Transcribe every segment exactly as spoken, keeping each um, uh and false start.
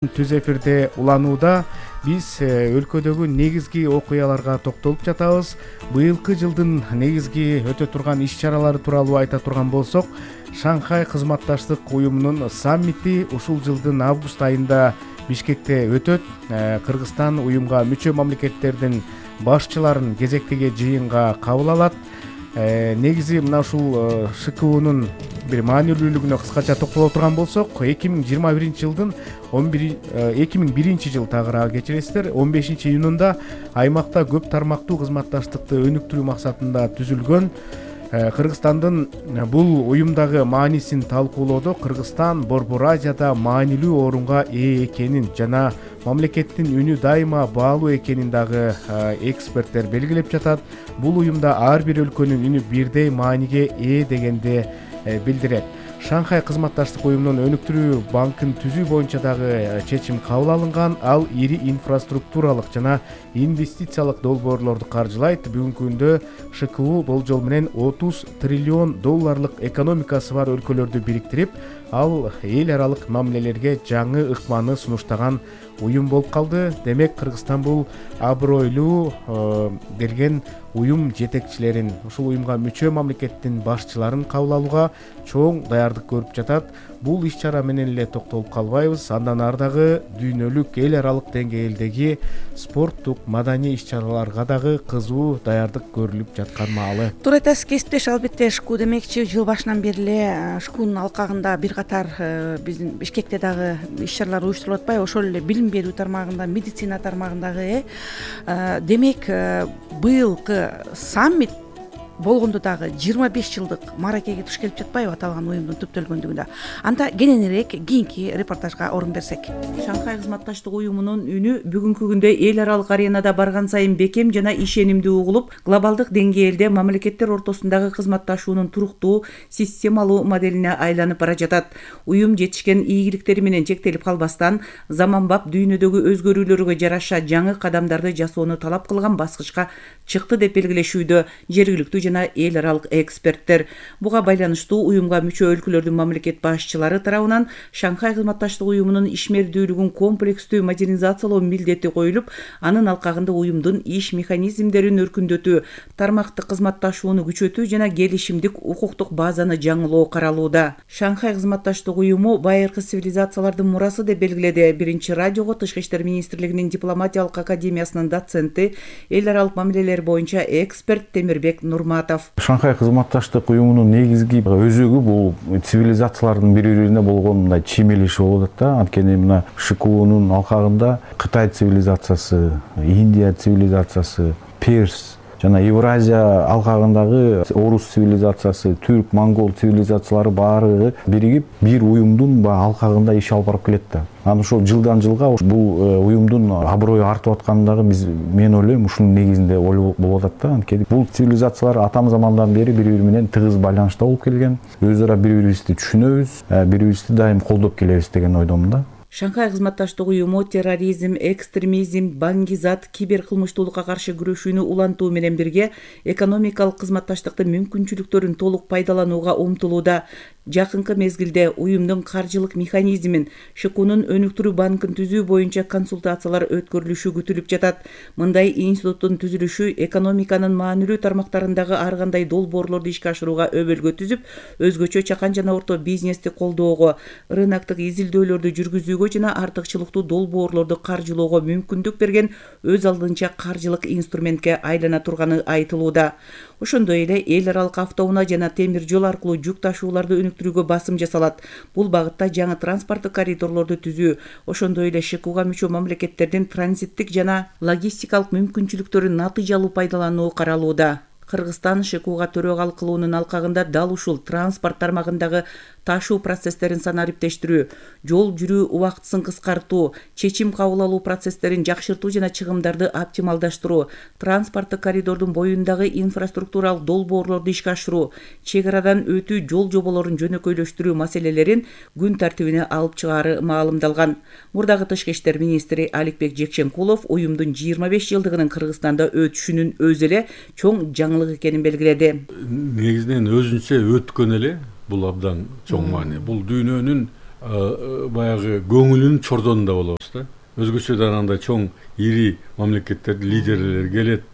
Түз эфирде уланууда биз өлкөдөгү негизги окуяларга токтолуп жатабыз. Быйылкы жылдын негизги өтө турган иш-чаралары тууралуу айта турган болсок, Шанхай кызматташтык уюмунун саммити ушул жылдын август айында Бишкекте өтөт. Кыргызстан уюмга мүчө мамлекеттердин башчыларын кезектеги жыйынга кабыл алат. Негизи мына ушул ШКУнун бир маанилүүлүгүнө кыскача токтоло турган болсок, эки миң жыйырма биринчи жылдын эки миң биринчи жыл тагыраагы кечиресиздер, он бешинчи июнунда аймакта көп тармактуу кызматташтыкты өнүктүрүү максатында түзүлгөн Кыргызстандын бул уюмдагы маанисин талкуулоодо Кыргызстан Борбор Азияда маанилүү орунга ээ экенин жана мамлекеттин үнү дайыма баалуу экенин дагы эксперттер белгилеп жатат. Бул уюмда ар бир өлкөнүн үнү бирдей мааниге ээ дегенди билдирет. Шанхай кызматташтык уюмунун өнүктүрүү банкын түзүү боюнча дагы чечим кабыл алынган. Ал ири инфраструктуралык жана инвестициялык долбоорлорду каржылайт. Бүгүнкү күндө ШКУ болжол менен отуз триллион долларлык экономикасы бар өлкөлөрдү бириктирип, ал эл аралык мамилелерге жаңы ыкманы сунуштаган уюм болуп калды. Демек, Кыргызстан бул абройлуу келген уюм жетекчилерин, ушул уюмга мүчө мамлекеттин башчыларын кабыл алууга чоң даярдык көрүп жатат. Бул иш-чара менен эле токтолуп калбайбыз. Андан ары дагы дүйнөлүк, эл аралык деңгээлдеги спорттук, маданий иш-чараларга дагы кызуу даярдык көрүлүп жаткан маалы. Туура айтасыз, кесиптеш. Албетте ШКУ демекчи жыл башынан бери эле ШКУнун алкагында бир катар биздин Бишкекте дагы иш-чаралар уюштурулуп атпайбы? Ошол эле билим берүү тармагында, медицина тармагындагы э демек быйылкы саммит болгондо дагы жыйырма беш жылдык мааракеге туш келип жатпайбы аталган уюмдун түптөлгөндүгүндө? Анда кененирээк кийинки репортажга орун берсек. Шанхай кызматташтык уюмунун үнү бүгүнкү күндө эл аралык аренада барган сайын бекем жана ишенимдүү угулуп, глобалдык деңгээлде мамлекеттер ортосундагы кызматташуунун туруктуу, системалуу моделине айланып бара жатат. Уюм жетишкен ийгиликтери менен чектелип калбастан, заманбап дүйнөдөгү өзгөрүүлөргө жараша жаңы кадамдарды жасоону талап кылган баскычка чыкты деп белгилешүүдө жергиликтүү жана эл аралык эксперттер. Буга байланыштуу уюмга мүчө өлкөлөрдүн мамлекет башчылары тарабынан Шанхай кызматташтык уюмунун ишмердүүлүгүн комплекстүү модернизациялоо милдети коюлуп, анын алкагында уюмдун иш механизмдерин өркүндөтүү, тармактык кызматташууну күчөтүү жана келишимдик укуктук базаны жаңылоо каралууда. Шанхай кызматташтык уюму байыркы цивилизациялардын мурасы деп белгиледи Биринчи радиого Тышкы иштер министрлигинин дипломатиялык академиясынын доценти, эл аралык мамилелер боюнча эксперт Темирбек Нурматов. Шанхай кызматташтык уюмунун негизги өзөгү бул цивилизациялардын бири-бирине болгон мындай чиймелеши болуп атат да. Анткени мына ШКУнун алкагында Кытай цивилизациясы, Индия цивилизациясы, Перс жана Евразия алкагындагы орус цивилизациясы, түрк, монгол цивилизациялары баары биригип бир уюмдун алкагында иш алып барып келет да. Анан ошол жылдан жылга бул уюмдун аброю артып атканы дагы биз мен ойлойм ушунун негизинде болуп атат да. Анткени бул цивилизациялар атам замандан бери бири-бири менен тыгыз байланышта болуп келген. Өз ара бири-бирибизди түшүнөбүз, бири-бирибизди дайым колдоп келебиз деген ойдомун да. Шанхай кызматташтык уюму терроризм, экстремизм, баңгизат, киберкылмыштуулукка каршы күрөшүүнү улантуу менен бирге экономикалык кызматташтыктын мүмкүнчүлүктөрүн толук пайдаланууга умтулууда. Жакынкы мезгилде уюмдун каржылык механизмин, ШКУнун өнүктүрүү банкын түзүү боюнча консультациялар өткөрүлүшү күтүлүп жатат. Мындай институттун түзүлүшү экономиканын маанилүү тармактарындагы ар кандай долбоорлорду ишке ашырууга өбөлгө түзүп, өзгөчө чакан жана орто бизнести колдоого, рыноктук изилдөөлөрдү жүргүзүүгө жана артыкчылыктуу долбоорлорду каржылоого мүмкүндүк берген өз алдынча каржылык инструментке айлана турганы айтылууда. Ошондой эле эл аралык автоунаа жана темир жол аркылуу жүк ташууларды өнүктүрүүгө басым жасалат. Бул багытта жаңы транспорттук коридорлорду түзүү, ошондой эле ШКУга мүчө мамлекеттердин транзиттик жана логистикалык мүмкүнчүлүктөрүн натыйжалуу пайдалануу каралууда. Кыргызстан ШКУга төрөгалык кылуунун алкагында дал ушул транспорт тармагындагы ташуу процесстерин санариптештирүү, жол жүрүү убактысын кыскартуу, чечим кабыл алуу процесстерин жакшыртуу жана чыгымдарды оптималдаштыруу, транспорттук коридордун боюндагы инфраструктуралык долбоорлорду ишке ашыруу, чек арадан өтүү жол жоболорун жөнөкөйлөштүрүү маселелерин күн тартибине алып чыгаары маалымдалган. Мурдагы Тышкы иштер министри Аликбек Жекченкулов уюмдун жыйырма беш жылдыгынын Кыргызстанда өтүшүнүн өзү эле чоң жаңылык экенин белгиледи. Негизинен өзүнчө өткөн эле бул абдан чоң маани. Бул дүйнөнүн баягы көңүлүнүн чордонунда болобуз да. Өзгөчөдөн андай чоң ири мамлекеттердин лидерлери келет,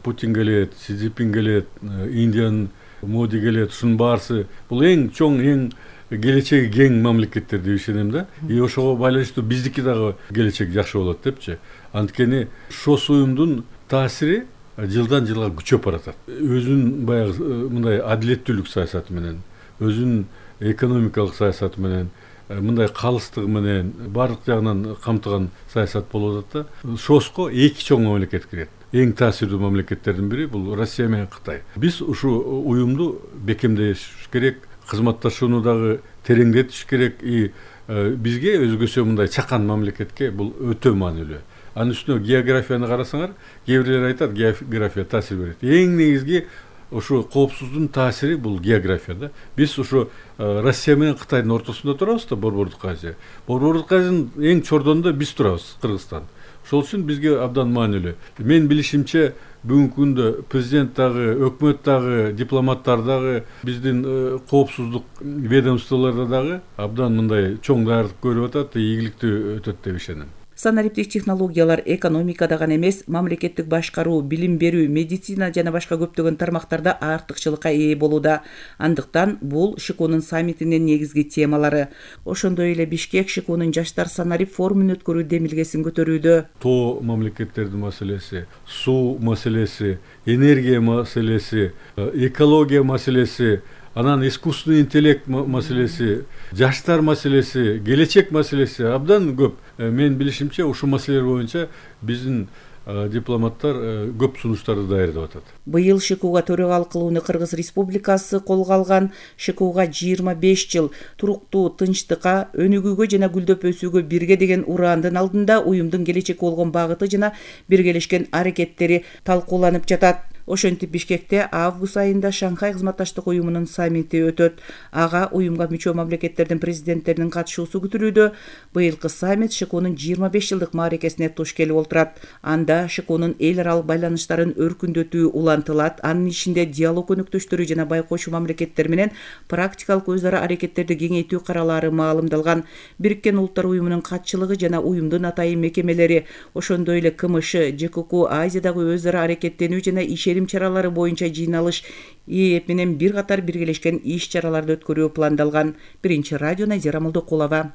Путин келет, Си Цзиньпин келет, Индиянын Моди келет, ушунун баарысы бул эң чоң, эң келечеги кең мамлекеттер деп ишенем да. И ошого байланыштуу биздики дагы келечек жакшы болот депчи. Анткени ШОС уюмдун таасири жылдан жылга күчөп баратат. Өзүнүн баягы мындай адилеттүүлүк саясаты менен, өзүнүн экономикалык саясаты менен, мындай калыстыгы менен баардык жагынан камтыган саясат болуп атат да. ШОСко эки чоң мамлекет кирет. Эң таасирдүү мамлекеттердин бири бул Россия менен Кытай. Биз ушу уюмду бекемдеш керек, кызматташууну дагы тереңдетиш керек. И бизге өзгөчө мындай чакан мамлекетке бул өтө маанилүү. Анын үстүнө географияны карасаңар, кээ бирлер айтат, география таасир берет. Эң негизги ушу коопсуздуктун таасири бул география да. Биз ушу Россия менен Кытайдын ортосунда турабыз да, Борбордук Азия. Борбордук Азиянын эң чордонунда биз турабыз, Кыргызстан. Ошол үчүн бизге абдан маанилүү. Мен билишимче бүгүнкү күндө президент дагы, өкмөт дагы, дипломаттар дагы, биздин коопсуздук ведомстволордо дагы абдан мындай чоң даярдык көрүп атат, ийгиликтүү өтөт деп ишенем. Санариптик технологиялар экономикада гана эмес, мамлекеттик башкаруу, билим берүү, медицина жана башка көптөгөн тармактарда артыкчылыкка ээ болууда. Андыктан бул ШКОнун саммитинин негизги темалары. Ошондой эле Бишкек ШКОнун жаштар санарип форумун өткөрүү демилгесин көтөрүүдө. Тоо мамлекеттердин маселеси, суу маселеси, энергия маселеси, экология маселеси, анан искусственный интеллект маселеси, жаштар маселеси, келечек маселеси абдан көп. Мен билишимче ушу маселелер боюнча биздин дипломаттар көп сунуштарды даярдап атат. Быйыл ШКОга төрагалык кылууну Кыргыз Республикасы колго алган. ШКОга жыйырма беш жыл туруктуу тынчтыкка, өнүгүүгө жана гүлдөп өсүүгө бирге деген ураандын алдында уюмдун келечекке болгон багыты жана биргелешкен аракеттери талкууланып жатат. Ошентип Бишкекте август айында Шанхай кызматташтык уюмунун саммити өтөт. Ага уюмга мүчө мамлекеттердин президенттеринин катышуусу күтүлүүдө. Быйылкы саммит ШКОнун жыйырма беш жылдык мааракесине туш келип отурат. Анда ШКОнун эл аралык байланыштарын өркүндөтүү улантылат. Анын ичинде диалог өнөктөштөрү жана байкоочу мамлекеттер менен практикалык өз ара аракеттерди кеңейтүү каралары маалымдалган. Бириккен Улуттар уюмунун катчылыгы жана уюмдун атайын мекемелери, ошондой эле КМШ, ЖКК, Азиядагы өз ара аракеттенүү жана ишерим чаралары боюнча жыйналыш ИЭП менен бир катар биргелешкен иш чараларды өткөрүү пландалган. Биринчи радио Назира Молдокулова.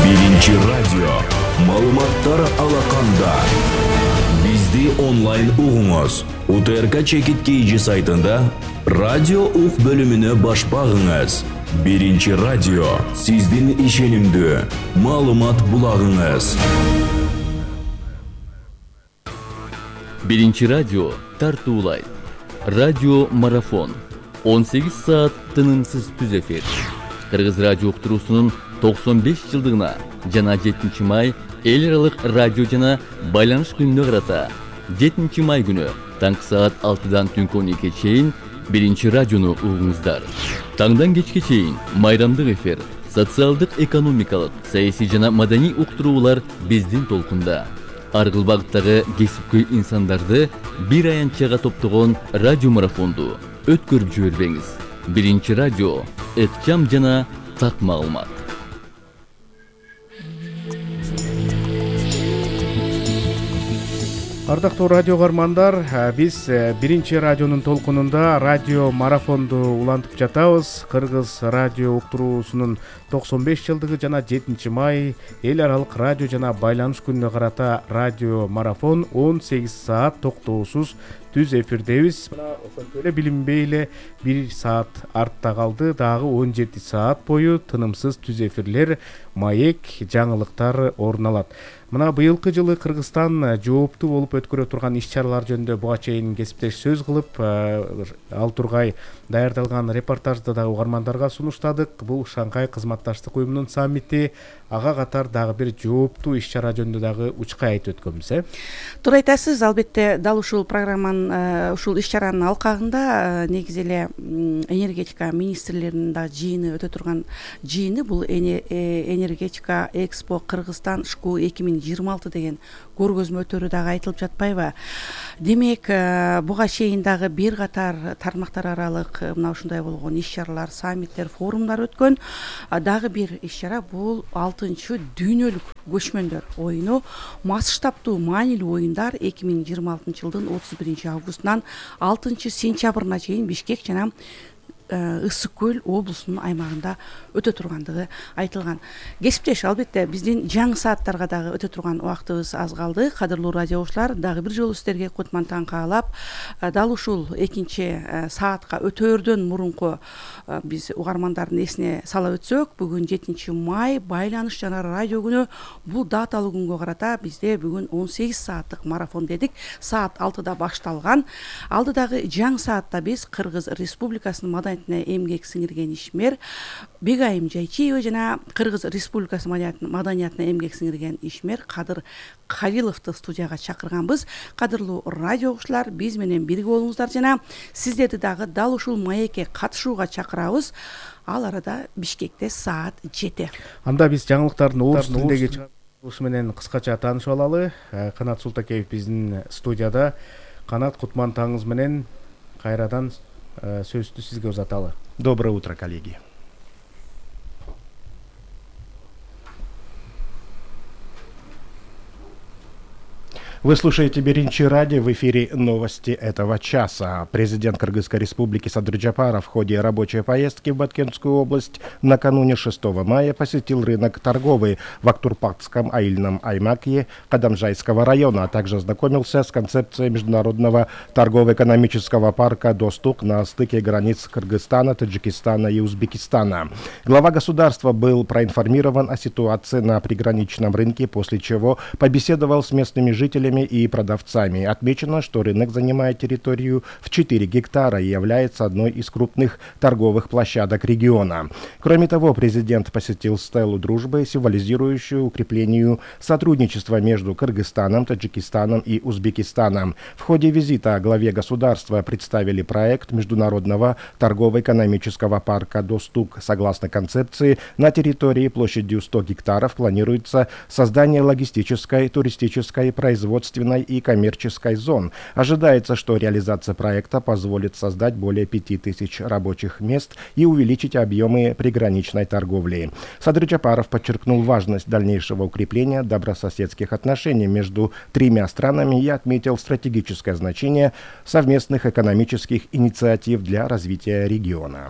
Биринчи радио маалыматтар алаканда. Бизди онлайн угуңуз. УТРК Чекит КЖ сайтында радио ук бөлүмүнө баш багыңыз. Биринчи радио сиздин ишенимдүү маалымат булагыңыз. Биринчи радио тартуулайт. Радио марафон. он сегиз саат тынымсыз түз эфир. Кыргыз радио уктуруусунун токсон беш жылдыгына жана жетинчи май эл аралык радио жана байланыш күнүнө карата жетинчи май күнү таңкы саат алтыдан түнкү он экиге чейин биринчи радиону угуңуздар. Таңдан кечке чейин майрамдык эфир, социалдык, экономикалык, саясий жана маданий уктуруулар биздин толкунда. Ар кыл багыттагы кесипкөй инсандарды бир аянтчага топтогон радио марафонду өткөрүп жибербеңиз. Биринчи радио ыкчам жана так маалымат. Ардактуу радио каармандар, биз биринчи радионун толкунунда радио марафонду улантып жатабыз. Кыргыз радио уктуруусунун токсон беш жылдыгы жана жетинчи май эл аралык радио жана байланыш күнүнө карата радио марафон он сегиз саат токтоосуз түз эфирдебиз. Мына ошентип эле билинбей эле бир саат артта калды. Дагы он жети саат бою тынымсыз түз эфирлер, маек, жаңылыктар орун алат. Мына быйылкы жылы Кыргызстан жооптуу болуп өткөрө турган иш-чаралар жөнүндө буга чейин кесиптеш сөз кылып, ал тургай даярдалган репортажды дагы угармандарга сунуштадык. Бул Шанхай кызматташтык уюмунун саммити, ага катар дагы бир жооптуу иш-чара жөнүндө дагы учка айтып өткөнбүз, э? Туура айтасыз. Албетте, дал ушул программанын анан ушул иш чаранын алкагында негизи эле энергетика министрлеринин да жыйыны өтө турган жыйыны, бул энергетика экспо Кыргызстан шку эки миң жыйырма алты деген көргөзмө өтөрү дагы айтылып жатпайбы? Демек, буга чейин дагы бир катар тармактар аралык мына ушундай болгон иш чаралар, саммиттер, форумдар өткөн. Дагы бир иш чара бул алтынчы дүйнөлүк көчмөндөр оюну, масштабтуу маанилүү оюндар эки миң жыйырма алтынчы жылдын отуз биринчи августунан алтынчы сентябрына чейин Бишкек жана Ысык көл облусунун аймагында өтө тургандыгы айтылган. Кесиптеш, албетте биздин жаңы сааттарга дагы өтө турган убактыбыз аз калды. Кадырлуу радио угуучулар, дагы бир жолу сиздерге кутман таң каалап, дал ушул экинчи саатка өтөөрдөн мурунку биз угармандардын эсине сала өтсөк, бүгүн жетинчи май байланыш жана радио күнү. Бул даталуу күнгө карата бизде бүгүн он сегиз сааттык марафон дедик. Саат алтыда башталган. Алдыдагы жаңы саатта биз Кыргыз Республикасынын маданиятына эмгек сиңирген ишмер Бегайым Жайчиева жана Кыргыз Республикасы маданиятына эмгек сиңирген ишмер Кадыр Калиловду студияга чакырганбыз. Кадырлуу радио угуучулар, биз менен бирге болуңуздар жана сиздерди дагы дал ушул маекке катышууга чакырабыз. Ал арада Бишкекте саат жети. Анда биз жаңылыктардын орус тилиндеги чыгарылышы менен кыскача таанышып алалы. Канат Султакеев биздин студияда. Канат, кутман таңыңыз менен кайрадан сөздү сизге узаталы. Доброе утро, коллеги. Вы слушаете Биринчи радио, в эфире новости этого часа. Президент Кыргызской республики Садыр Жапаров в ходе рабочей поездки в Баткенскую область накануне шестого мая посетил рынок торговый в Актурпакском аильном аймаке Кадамжайского района, а также ознакомился с концепцией международного торгово-экономического парка «Достук» на стыке границ Кыргызстана, Таджикистана и Узбекистана. Глава государства был проинформирован о ситуации на приграничном рынке, после чего побеседовал с местными жителями и продавцами. Отмечено, что рынок занимает территорию в четыре гектара и является одной из крупных торговых площадок региона. Кроме того, президент посетил стелу дружбы, символизирующую укреплению сотрудничества между Кыргызстаном, Таджикистаном и Узбекистаном. В ходе визита главе государства представили проект международного торгово-экономического парка «Достук». Согласно концепции, на территории площадью сто гектаров планируется создание логистической, туристической, производственной и коммерческой зон. Ожидается, что реализация проекта позволит создать более пяти тысяч рабочих мест и увеличить объемы приграничной торговли. Садыр Жапаров подчеркнул важность дальнейшего укрепления добрососедских отношений между тремя странами и отметил стратегическое значение совместных экономических инициатив для развития региона.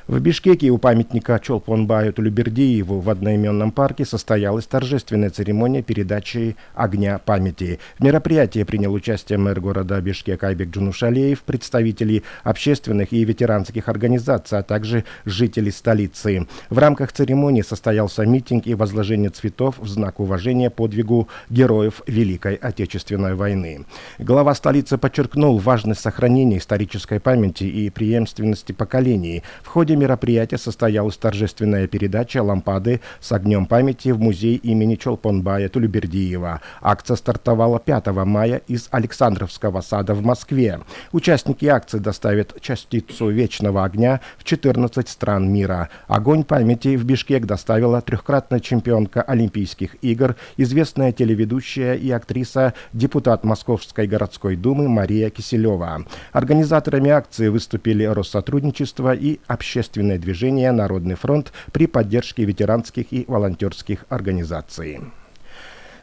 В Бишкеке у памятника Чолпонбаю Тулебердиеву в одноименном парке состоялась торжественная церемония передачи огня памяти. В мероприятии принял участие мэр города Бишкек Айбек Джунушалиев, представители общественных и ветеранских организаций, а также жители столицы. В рамках церемонии состоялся митинг и возложение цветов в знак уважения подвигу героев Великой Отечественной войны. Глава столицы подчеркнул важность сохранения исторической памяти и преемственности поколений. В ходе мероприятия состоялась торжественная передача лампады с огнем памяти в музей имени Чолпонбая Тулебердиева. Акция стартовала пятого мая из Александровского сада в Москве. Участники акции доставят частицу вечного огня в четырнадцать стран мира. Огонь памяти в Бишкек доставила трехкратная чемпионка Олимпийских игр, известная телеведущая и актриса, депутат Московской городской думы Мария Киселева. Организаторами акции выступили Россотрудничество и общественное движение «Народный фронт» при поддержке ветеранских и волонтерских организаций.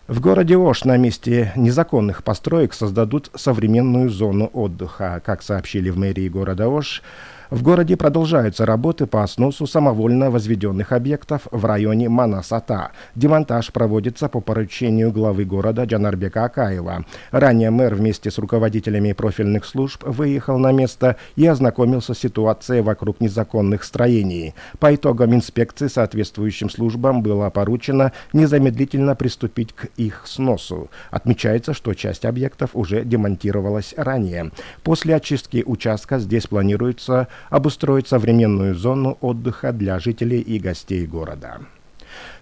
В городе Ош на месте незаконных построек создадут современную зону отдыха. Как сообщили в мэрии города Ош, в городе продолжаются работы по сносу самовольно возведенных объектов в районе Манас-Ата. Демонтаж проводится по поручению главы города Джанарбека Акаева. Ранее мэр вместе с руководителями профильных служб выехал на место и ознакомился с ситуацией вокруг незаконных строений. По итогам инспекции соответствующим службам было поручено незамедлительно приступить к их сносу. Отмечается, что часть объектов уже демонтировалась ранее. После очистки участка здесь планируется обустроить современную зону отдыха для жителей и гостей города.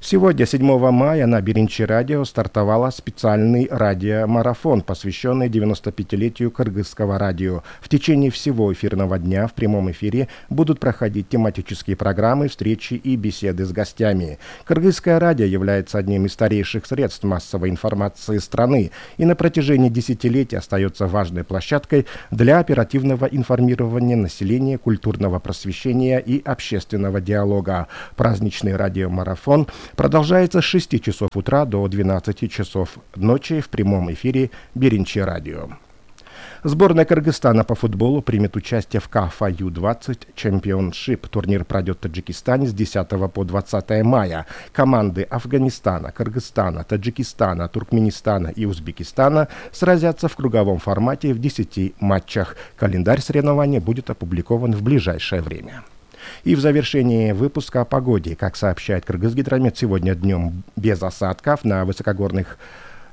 Сегодня, седьмого мая, на Биринчи радио стартовала специальный радиомарафон, посвященный девяностопятилетию кыргызского радио. В течение всего эфирного дня в прямом эфире будут проходить тематические программы, встречи и беседы с гостями. Кыргызское радио является одним из старейших средств массовой информации страны и на протяжении десятилетий остается важной площадкой для оперативного информирования населения, культурного просвещения и общественного диалога. Праздничный радиомарафон продолжается с шести часов утра до двенадцати часов ночи в прямом эфире Биринчи радио. Сборная Кыргызстана по футболу примет участие в КАФА ю двадцать Championship. Турнир пройдет в Таджикистане с десятого по двадцатое мая. Команды Афганистана, Кыргызстана, Таджикистана, Туркменистана и Узбекистана сразятся в круговом формате в десяти матчах. Календарь соревнований будет опубликован в ближайшее время. И в завершении выпуска о погоде. Как сообщает Кыргызгидромет, сегодня днем без осадков на высокогорных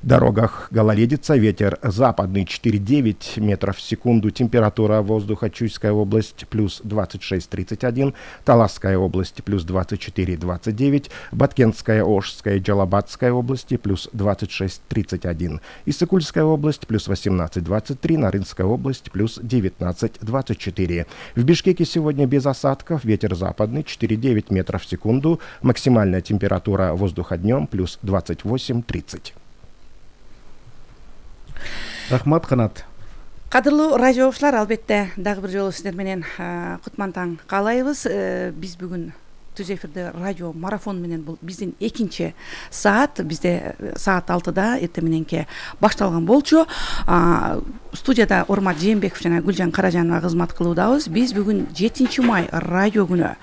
дорогах гололедица, ветер западный четыре-девять метров в секунду, температура воздуха Чуйская область плюс двадцать шесть тридцать один, Таласская область плюс двадцать четыре двадцать девять, Баткентская, Ошская и Джалабадская области плюс двадцать шесть тридцать один, Иссыкульская область плюс восемнадцать двадцать три, Нарынская область плюс девятнадцать двадцать четыре. В Бишкеке сегодня без осадков, ветер западный четыре-девять метров в секунду, максимальная температура воздуха днем плюс двадцать восемь тридцать. Рахмат, Канат. Кадырлуу радио окуучулар, албетте дагы бир жолу сиздер менен кутман таң каалайбыз. Биз бүгүн түз эфирде радио марафон менен бул биздин экинчи саат, бизде саат алтыда эртең мененки башталган болчу. Студияда Ормат Жээнбеков жана Гүлжан Каражанова кызмат кылуудабыз. Биз бүгүн жетинчи май радио күнү.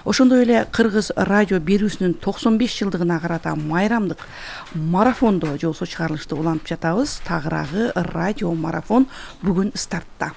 Ошондой эле Кыргыз радио берүүсүнүн токсон беш жылдыгына карата майрамдык марафондо жолсо чыгарылышты улантып жатабыз. Тагыраагы радио марафон бүгүн стартта.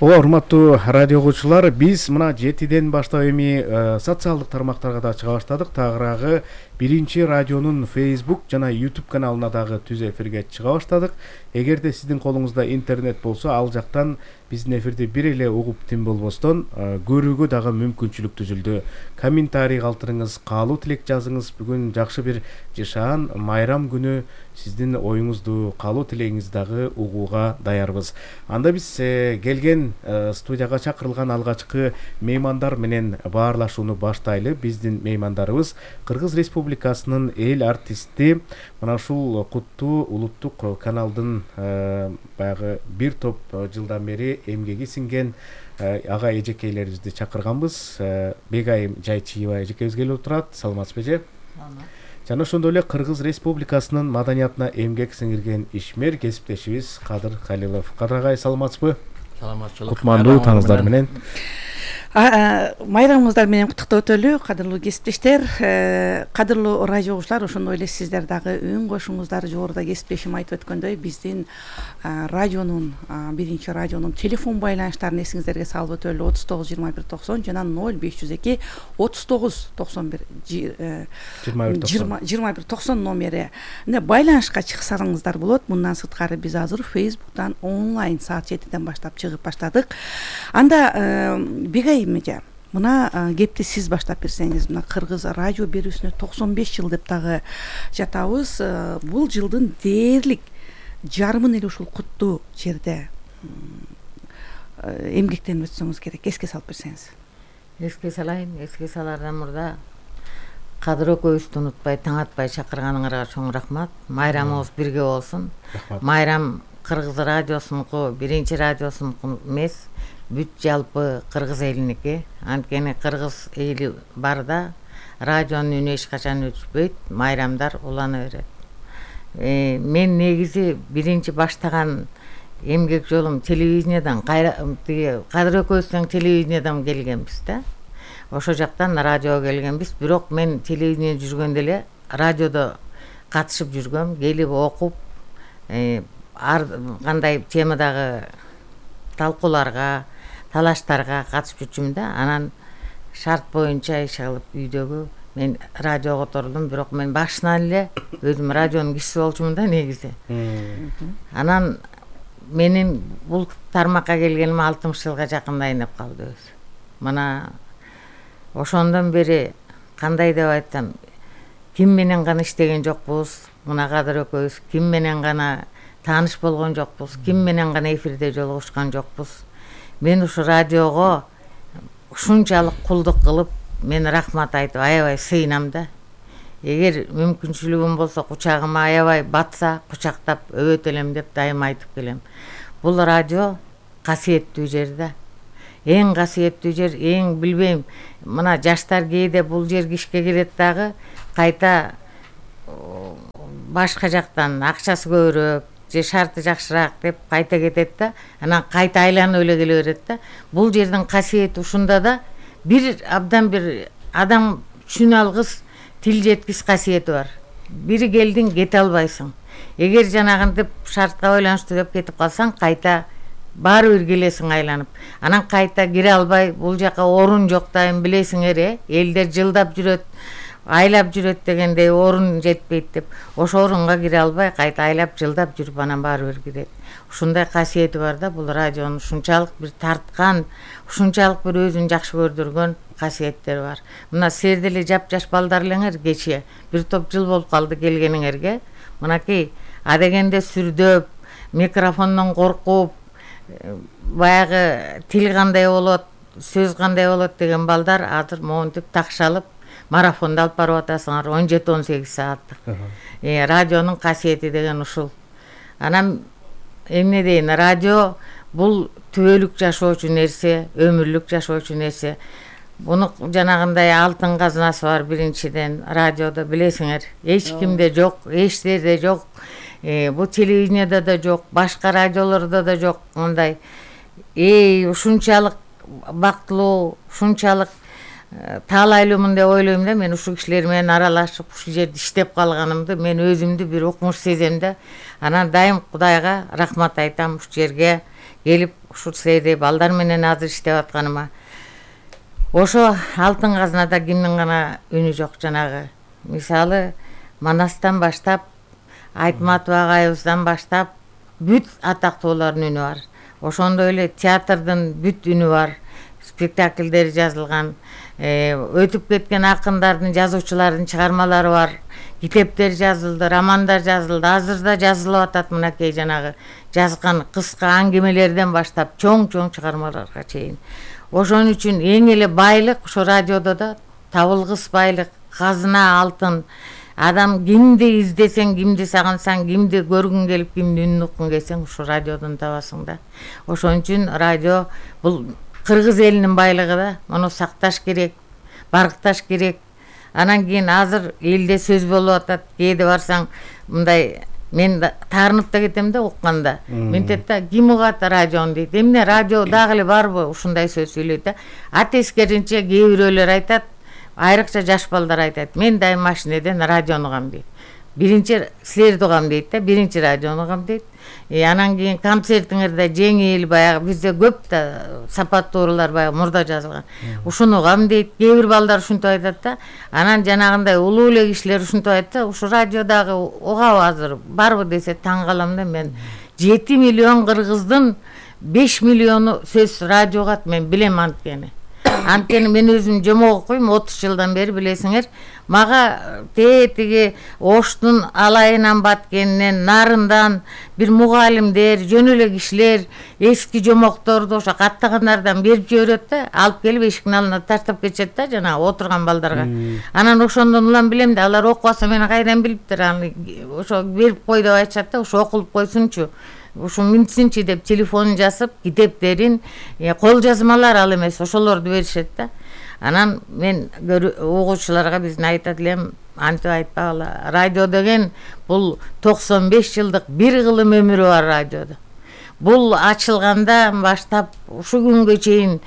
Ооба, урматтуу радио угуучулар, биз мына жетиден баштап эми социалдык тармактарга да чыга баштадык. Тагыраагы Биринчи радионун Facebook жана YouTube каналына дагы түз эфирге чыга баштадык. Эгерде сиздин колуңузда интернет болсо, ал жактан биздин эфирди бир эле угуп тим болбостон көрүүгө дагы мүмкүнчүлүк түзүлдү. Комментарий калтырыңыз, каалоо тилек жазыңыз. Бүгүн жакшы бир жашаан майрам күнү, сиздин оюңузду, каалоо тилегиңизди дагы угууга даярбыз. Анда биз келген студияга чакырылган алгачкы меймандар менен баарлашууну баштайлы. Биздин меймандарыбыз Кыргыз Республикасынын эл артисти, мына ушул куттуу улуттук каналдын баягы бир топ жылдан бери эмгеги сиңген ага эжекейлерибизди чакырганбыз. Бегайым Жайчиева эжекебиз келип отурат. Саламатсызбы эже? Жана ошондой эле Кыргыз Республикасынын маданиятына эмгек сиңирген ишмер кесиптешибиз Кадыр Халилов. Кадыр агай, саламатсызбы? Саламатчылык. Кутмандуу таңыңыздар менен. Майрамыңыздар менен куттуктап өтөлү, кадырлуу кесиптештер, кадырлуу радио угуучулар. Ошондой эле сиздер дагы үн кошуңуздар. Жогоруда кесиптешим айтып өткөндөй, биздин радионун, Биринчи радионун телефон байланыштарын эсиңиздерге салып өтөлү. отуз тогуз жыйырма бир токсон жана ноль беш жүз эки отуз тогуз токсон бир жыйырма бир токсон номери. Мына байланышка чыксаңыздар болот. Мындан сырткары биз азыр Facebook'тан онлайн саат жетиден баштап чыгып баштадык. Анда Бегай эже, мына кепти сиз баштап берсеңиз. Мына Кыргыз радио берүүсүнө токсон беш жыл деп дагы жатабыз. Бул жылдын дээрлик жарымын эле ушул куттуу жерде эмгектенип өтсөңүз керек. Эске салып берсеңиз. Эске салайын, эске салардан мурда Кадыр экөөбүздү унутпай, таң атпай чакырганыңарга чоң рахмат. Майрамыбыз бирге болсун. Майрам Кыргыз радиосунуку, Биринчи радиосунуку эмес, бүт жалпы Кыргыз элиники. Анткени Кыргыз эли барда радионун үнү эч качан өчпөйт, майрамдар улана берет. Мен негизи биринчи баштаган эмгек жолум телевидениядан, Кадыр экөөбүздөн телевидениядан келгенбиз да. Ошо жактан радиого келгенбиз, бирок мен телевидениеде жүргөндө эле радиодо катышып жүргөм, келип окуп, ар кандай темадагы талкууларга, талаштарга катышып жүрчүмүн да. Анан шарт боюнча иш кылып үйдөгү мен радиого котордум, бирок мен башынан эле өзүм радионун кишиси болчумун да негизи. Анан менин бул тармакка келгениме алтымыш жылга жакындайын деп калды өзү. Мына ошондон бери кандай деп айтсам, ким менен гана иштеген жокпуз, мына Кадыр экөөбүз ким менен гана тааныш болгон жокпуз, ким менен гана эфирде жолугушкан жокпуз. Мен ушу радиого ушунчалык кулдук кылып, мен рахмат айтып аябай сыйынам да. Эгер мүмкүнчүлүгүм болсо, кучагыма аябай батса, кучактап өбөтөлөм деп дайым айтып келем. Бул радио касиеттүү жер да. Эң касиеттүү жер, эң билбейм, мына жаштар кээде бул жерге ишке келет дагы, кайта башка жактан акчасы көбүрөөк же шарты жакшыраак деп кайта кетет да, анан кайта айланып эле келе берет да. Бул жердин касиети ушунда да, бир абдан бир адам түшүнө алгыс тил жеткис касиети бар. Бири келдиң, кете албайсың. Эгер жанагынтип шартка байланыштуу деп кетип калсаң, кайта баары бир келесиң айланып. Анан кайта кире албай, бул жака орун жок дайым билесиңер, э? Элдер жылдап жүрөт, айлап жүрөт дегендей орун жетпейт деп. Ошо орунга кире албай, кайта айлап жылдап жүрүп анан баары бир кирет. Ушундай касиети бар да бул радионун, ушунчалык бир тарткан, ушунчалык бир өзүн жакшы көрдүргөн касиеттери бар. Мына силер деле жапжаш балдар элеңер, кече бир топ жыл болуп калды келгениңерге. Мынакей адегенде сүрдөп, микрофондон коркуп, баягы тил кандай болот, сөз кандай болот деген балдар азыр монтип такшалып марафонду алып барып атасыңар он жети он сегиз сааттык. Э, радионун касиети деген ушул. Анан эмне дейин, радио бул түбөлүк жашоочу нерсе, өмүрлүк жашоочу нерсе. Буну жанагындай алтын казынасы бар биринчиден радиодо, билесиңер. Эч кимде жок, эч жерде жок. Э, бу телевидениеде да жок, башка радиолордо да жок мындай. Эй, ушунчалык бактылуу, ушунчалык таалайлуумун деп ойлойм да. Мен ушул кишилер менен аралашып, ушул жерде иштеп калганымды мен өзүмдү бир укмуш сезем да. Анан дайым Кудайга рахмат айтам ушул жерге келип, ушул силердей балдар менен азыр иштеп атканыма. Ошо алтын казынада кимдин гана үнү жок, жанагы. Мисалы, Манастан баштап, Айтматов агайыбыздан баштап бүт атактуулардын үнү бар. Ошондой эле театрдын бүт үнү бар. Спектакльдери жазылган, өтүп кеткен акындардын, жазуучулардын чыгармалары бар. Китептер жазылды, романдар жазылды, азыр да жазылып атат. Мынакей жанагы жазган кыска аңгемелерден баштап чоң-чоң чыгармаларга чейин. Ошон үчүн эң эле байлык ошо радиодо да табылгыс байлык, казына, алтын. Адам кимди издесең, кимди сагынсаң, кимди көргүң келип, кимди үнүн уккуң келсең, ушу радиодон табасың да. Ошон үчүн радио бул кыргыз элинин байлыгы да. Муну сакташ керек, баркташ керек. Анан кийин азыр элде сөз болуп атат. Кээде барсаң, мындай мен таарынып да кетем да укканда. Ментет да, ким угат радиону дейт. Эмне радио дагы эле барбы ушундай сөз сүйлөйт да. А тескеринче кээ бирөөлөр айтат, айрыкча жаш балдар айтат. Мен дайым машинеден радиону угам дейт. Биринчи силерди угам дейт да, биринчи радиону угам дейт. Э, анан кийин концертиңерде жеңил, баягы бизде көп да сапаттуулар баягы мурда жазылган. Ушуну угам дейт. Кээ бир балдар ушинтип айтат да. Анан жанагындай улуу эле кишилер ушинтип айтат да, ушу радиодагы угабы азыр барбы десе таң калам да мен. жети миллион кыргыздын беш миллиону сөз радио угат, мен билем анткени. Анткени мен өзүм жомок окуйм отуз жылдан бери, билесиңер. Мага тетиги Оштун алайынан Баткенинен, Нарындан бир мугалимдер, жөн эле кишилер эски жомокторду ошо каттагандардан берип жиберет да, алып келип эшиктин алдына таштап кетишет да, жана отурган балдарга. Анан ошондон улам билем да, алар окубаса мени кайдан билиптир, аны ошо берип кой деп айтышат да, ошо окулуп койсунчу. Ушу минтсинчи деп телефонун жазып, китептерин, кол жазмалар ал эмес, ошолорду беришет да. Анан мен угуучуларга биздин айтат элем, антип айтпагыла. Радио деген бул токсон беш жылдык бир кылым өмүрү бар радиодо. Бул ачылгандан баштап ушу күнгө чейин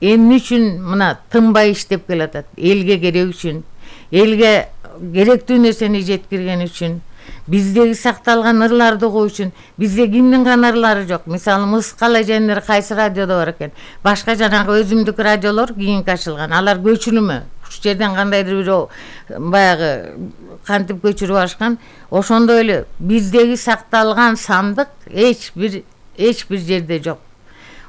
эмне үчүн мына тынбай иштеп келатат? Элге керек үчүн, элге керектүү нерсени жеткирген үчүн, биздеги сакталган ырларды угуу үчүн. Бизде кимдин гана ырлары жок. Мисалы, Мыс Калайжандер кайсы радиодо бар экен? Башка жанагы өзүмдүк радиолор кийинки ачылган. Алар көчүрүмө. Ушул жерден кандайдыр бир баягы кантип көчүрүп ашкан. Ошондой эле биздеги сакталган сандык эч бир эч бир жерде жок.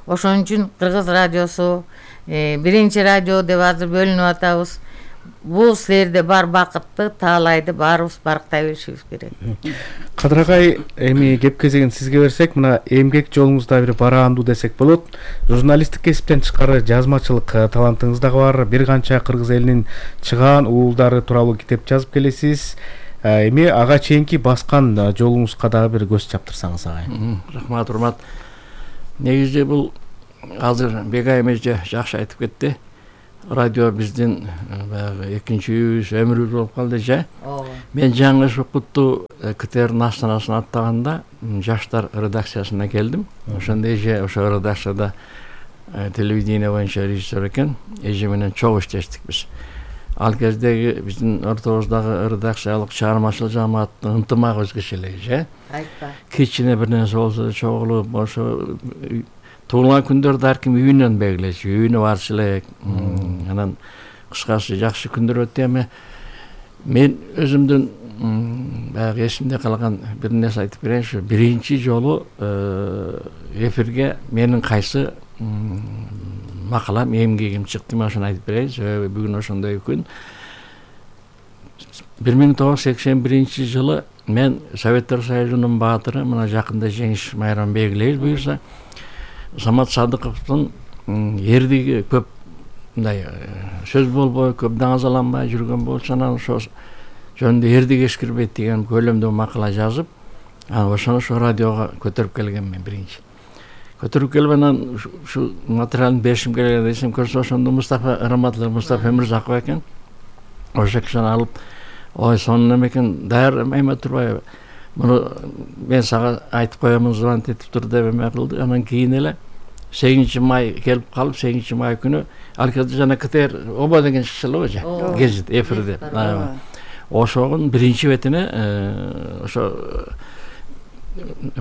Ошон үчүн кыргыз радиосу, биринчи радио деп азыр бөлүнүп атабыз. бул силерде бар бакытты таалайды баарыбыз барктай билишибиз керек. Кадыр агай, эми кеп кезегин сизге берсек, мына эмгек жолуңузда бир бараандуу десек болот. Журналисттик кесиптен тышкары жазмачылык талантыңыз дагы бар. Бир канча кыргыз элинин чыгаан уулдары тууралуу китеп жазып келесиз. Эми ага чейинки баскан жолуңузга дагы бир көз чаптырсаңыз агай. Рахмат, урмат. Негизи бул азыр Бегайым эже жакшы айтып кетти. Радио биздин баягы экинчи үйүбүз, өмүрүбүз болуп калды же. Мен жаңы укутту КТР астанасына аттаганда жаштар редакциясына келдим. Ошондо эже ошо редакцияда телевидение боюнча режиссер экен. Эже менен чогуу иштештик биз. Ал кездеги биздин ортобуздагы редакциялык чыгармачыл жамааттын ынтымагы өзгөчө эле же. Айтпа. Кичине бир нерсе болсо чогулуп, ошо туулган күндөрдү ар ким үйүнөн белгилечү, үйүнө барчу элек. Анан кыскасы жакшы күндөр өттү. Эми мен өзүмдүн баягы эсимде калган бир нерсе айтып берейинчи. Биринчи жолу эфирге менин кайсы макалам, эмгегим чыкты, мен ошону айтып берейин. Себеби бүгүн ошондой күн. бир миң тогуз жүз сексен биринчи жылы мен Советтер Союзунун баатыры, мына жакында жеңиш майрамын белгилейбиз буюрса, Самат Садыковдун эрдиги көп мындай сөз болбой, көп даңазаланбай жүргөн болчу, анан ошо жөнүндө эрдиги эскирбейт деген көлөмдүү макала жазып, анан ошону ошо радиого көтөрүп келгем мен биринчи. Көтөрүп келип анан ушу материалын беришим керек десем, көрсө ошондо Мустафа Раматлы, Мустафа Эмирзаков экен. Ошо кишини алып, ой, сонун эме экен, даяр эме турбайбы? Муну мен сага айтып коемун, звонить этип тур деп эме кылды. Анан кийин эле сегизинчи май келип калып, сегизинчи май күнү ал кезде жана КТР Оба деген чыкчу эле же, гезит эфирде. Ошонун биринчи бетине ошо